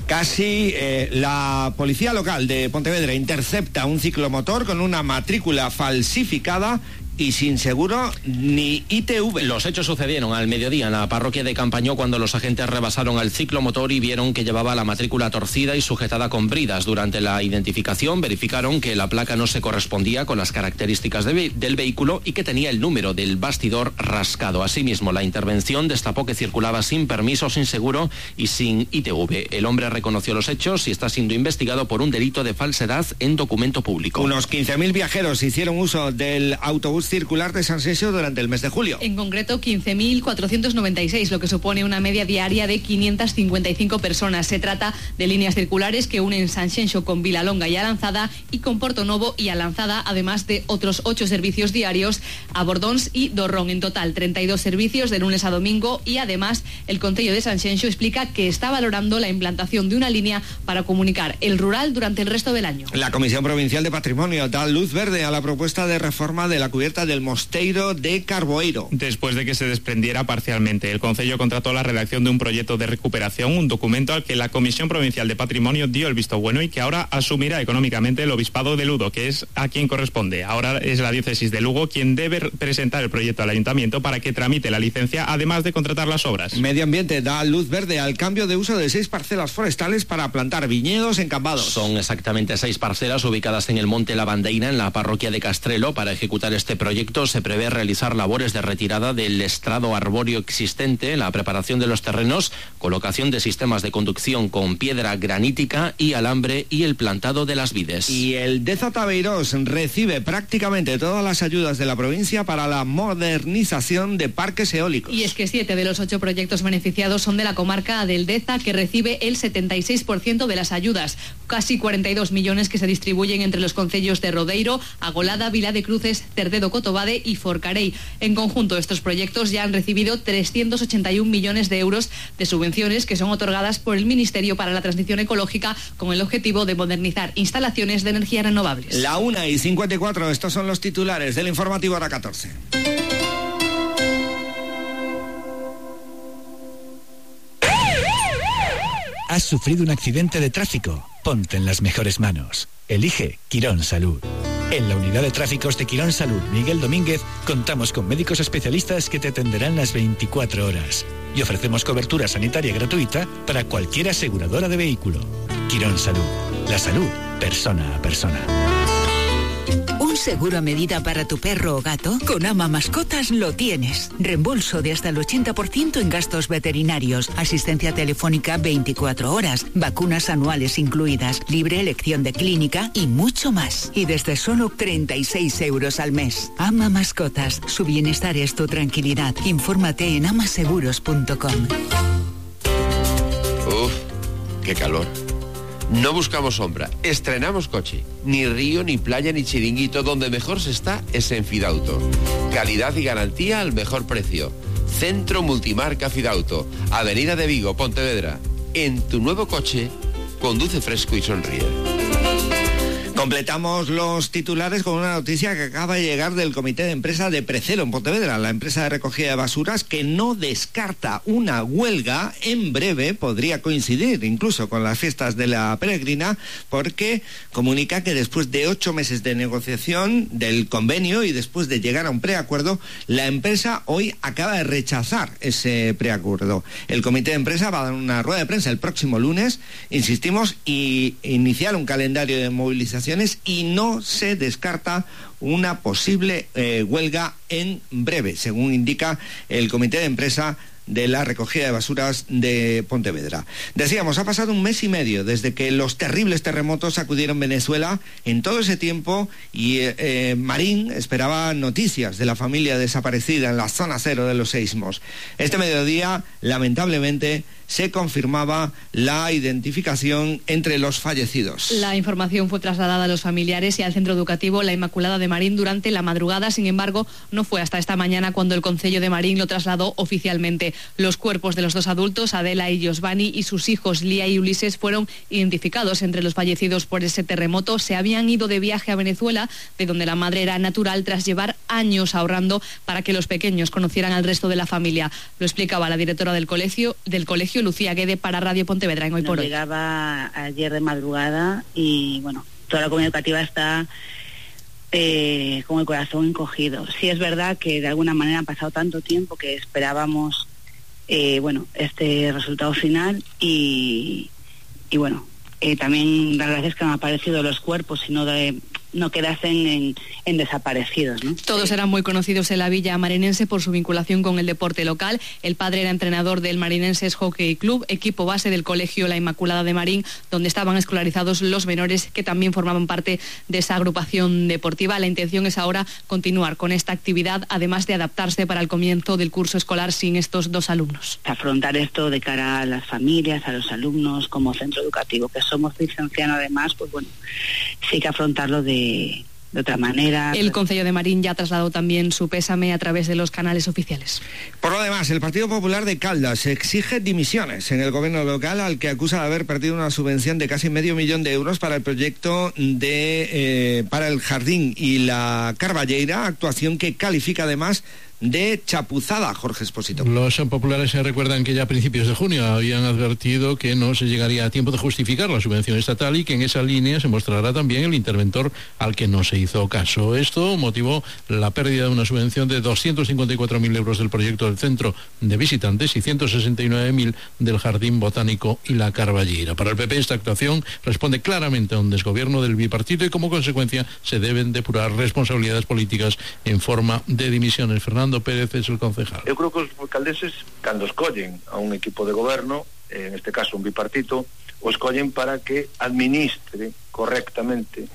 Casi la policía local de Pontevedra intercepta un ciclomotor con una matrícula falsificada y sin seguro ni ITV. Los hechos sucedieron al mediodía en la parroquia de Campañó, cuando los agentes rebasaron al ciclomotor y vieron que llevaba la matrícula torcida y sujetada con bridas. Durante la identificación verificaron que la placa no se correspondía con las características del vehículo y que tenía el número del bastidor rascado. Asimismo, la intervención destapó que circulaba sin permiso, sin seguro y sin ITV. El hombre reconoció los hechos y está siendo investigado por un delito de falsedad en documento público. Unos 15.000 viajeros hicieron uso del autobús circular de Sanxenxo durante el mes de julio. En concreto, 15.496, lo que supone una media diaria de 555 personas. Se trata de líneas circulares que unen Sanxenxo con Vilalonga y Alanzada y con Portonovo y Alanzada, además de otros 8 servicios diarios a Bordóns y Dorrón. En total, 32 servicios de lunes a domingo y además el Concello de Sanxenxo explica que está valorando la implantación de una línea para comunicar el rural durante el resto del año. La Comisión Provincial de Patrimonio da luz verde a la propuesta de reforma de la cubierta aberta del Mosteiro de Carboeiro. Después de que se desprendiera parcialmente, el Concello contrató la redacción de un proyecto de recuperación, un documento al que la Comisión Provincial de Patrimonio dio el visto bueno y que ahora asumirá económicamente el Obispado de Lugo, que es a quien corresponde. Ahora es la Diócesis de Lugo quien debe presentar el proyecto al Ayuntamiento para que tramite la licencia, además de contratar las obras. Medio Ambiente da luz verde al cambio de uso de 6 parcelas forestales para plantar viñedos en Cambados. Son exactamente 6 parcelas ubicadas en el Monte Lavandeira, en la parroquia de Castrelo. Para ejecutar este proyecto se prevé realizar labores de retirada del estrado arbóreo existente, la preparación de los terrenos, colocación de sistemas de conducción con piedra granítica y alambre y el plantado de las vides. Y el Deza Tabeirós recibe prácticamente todas las ayudas de la provincia para la modernización de parques eólicos. Y es que 7 de los 8 proyectos beneficiados son de la comarca del Deza, que recibe el 76% de las ayudas, casi 42 millones que se distribuyen entre los concellos de Rodeiro, Agolada, Vila de Cruces, Cerdedo, Cotobade y Forcarei. En conjunto, estos proyectos ya han recibido 381 millones de euros de subvenciones que son otorgadas por el Ministerio para la Transición Ecológica con el objetivo de modernizar instalaciones de energía renovables. La 1:54, estos son los titulares del informativo Hora 14. ¿Has sufrido un accidente de tráfico? Ponte en las mejores manos. Elige Quirón Salud. En la unidad de tráficos de Quirón Salud Miguel Domínguez contamos con médicos especialistas que te atenderán las 24 horas y ofrecemos cobertura sanitaria gratuita para cualquier aseguradora de vehículo. Quirón Salud. La salud, persona a persona. ¿Un seguro a medida para tu perro o gato? Con Ama Mascotas lo tienes. Reembolso de hasta el 80% en gastos veterinarios, asistencia telefónica 24 horas, vacunas anuales incluidas, libre elección de clínica y mucho más. Y desde solo 36 euros al mes. Ama Mascotas, su bienestar es tu tranquilidad. Infórmate en amaseguros.com. Uf, qué calor. No buscamos sombra, estrenamos coche. Ni río, ni playa, ni chiringuito. Donde mejor se está es en Fidauto. Calidad y garantía al mejor precio. Centro Multimarca Fidauto. Avenida de Vigo, Pontevedra. En tu nuevo coche, conduce fresco y sonríe. Completamos los titulares con una noticia que acaba de llegar del Comité de Empresa de Precelo en Pontevedra, la empresa de recogida de basuras, que no descarta una huelga en breve. Podría coincidir incluso con las fiestas de la peregrina, porque comunica que después de 8 meses de negociación del convenio y después de llegar a un preacuerdo, la empresa hoy acaba de rechazar ese preacuerdo. El Comité de Empresa va a dar una rueda de prensa el próximo lunes, insistimos, y iniciar un calendario de movilización y no se descarta una posible huelga en breve, según indica el Comité de Empresa de la recogida de basuras de Pontevedra. Decíamos, ha pasado 1 mes y medio desde que los terribles terremotos sacudieron Venezuela. En todo ese tiempo, y Marín esperaba noticias de la familia desaparecida en la zona cero de los seísmos. Este mediodía, lamentablemente, se confirmaba la identificación entre los fallecidos. La información fue trasladada a los familiares y al centro educativo La Inmaculada de Marín durante la madrugada. Sin embargo, no fue hasta esta mañana cuando el Concello de Marín lo trasladó oficialmente. Los cuerpos de los 2 adultos, Adela y Josvani, y sus hijos Lía y Ulises, fueron identificados entre los fallecidos por ese terremoto. Se habían ido de viaje a Venezuela, de donde la madre era natural, tras llevar años ahorrando para que los pequeños conocieran al resto de la familia. Lo explicaba la directora del colegio Lucía Guede, para Radio Pontevedra en Hoy por Hoy. Llegaba ayer de madrugada y bueno, toda la comunidad educativa está con el corazón encogido. Sí es verdad que de alguna manera ha pasado tanto tiempo que esperábamos este resultado final y bueno, también dar gracias que han aparecido los cuerpos y no quedasen en desaparecidos, ¿no? Todos eran muy conocidos en la villa marinense por su vinculación con el deporte local. El padre era entrenador del Marinenses Hockey Club, equipo base del colegio La Inmaculada de Marín, donde estaban escolarizados los menores que también formaban parte de esa agrupación deportiva. La intención es ahora continuar con esta actividad, además de adaptarse para el comienzo del curso escolar sin estos 2 alumnos. Afrontar esto de cara a las familias, a los alumnos, como centro educativo que somos licencianos además, pues bueno, sí hay que afrontarlo de de otra manera. El Concello de Marín ya ha trasladado también su pésame a través de los canales oficiales. Por lo demás, el Partido Popular de Caldas exige dimisiones en el gobierno local, al que acusa de haber perdido una subvención de casi medio millón de euros para el proyecto para el jardín y la Carballeira, actuación que califica además de chapuzada. Jorge Expósito. Los populares se recuerdan que ya a principios de junio habían advertido que no se llegaría a tiempo de justificar la subvención estatal y que en esa línea se mostrará también el interventor al que no se hizo caso. Esto motivó la pérdida de una subvención de 254.000 euros del proyecto del centro de visitantes y 169.000 del jardín botánico y la Carballeira. Para el PP esta actuación responde claramente a un desgobierno del bipartito y como consecuencia se deben depurar responsabilidades políticas en forma de dimisiones. Fernando Pérez es el concejal. Eu creo que os caldeses, cando escollen a un equipo de goberno, en este caso un bipartito, o escollen para que administre correctamente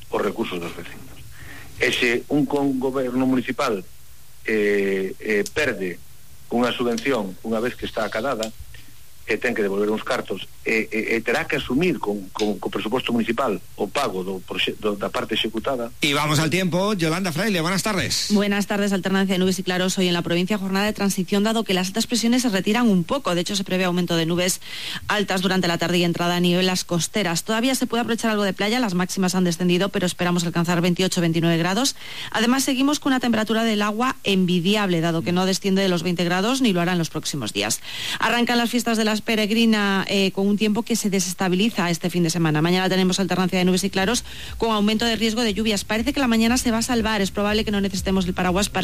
os recursos dos vecinos. E se un goberno municipal perde unha subvención unha vez que está acadada, e ten que devolver uns cartos e terá que asumir con presupuesto municipal o pago da parte executada. Y vamos al tiempo. Yolanda Fraile, buenas tardes. Buenas tardes. Alternancia de nubes y claros hoy en la provincia, jornada de transición dado que las altas presiones se retiran un poco. De hecho, se prevé aumento de nubes altas durante la tarde y entrada a niveles costeras. Todavía se puede aprovechar algo de playa, las máximas han descendido, pero esperamos alcanzar 28-29 grados. Además, seguimos con una temperatura del agua envidiable, dado que no desciende de los 20 grados ni lo hará en los próximos días. Arrancan las fiestas de las peregrina con un tiempo que se desestabiliza este fin de semana. Mañana tenemos alternancia de nubes y claros con aumento de riesgo de lluvias. Parece que la mañana se va a salvar. Es probable que no necesitemos el paraguas para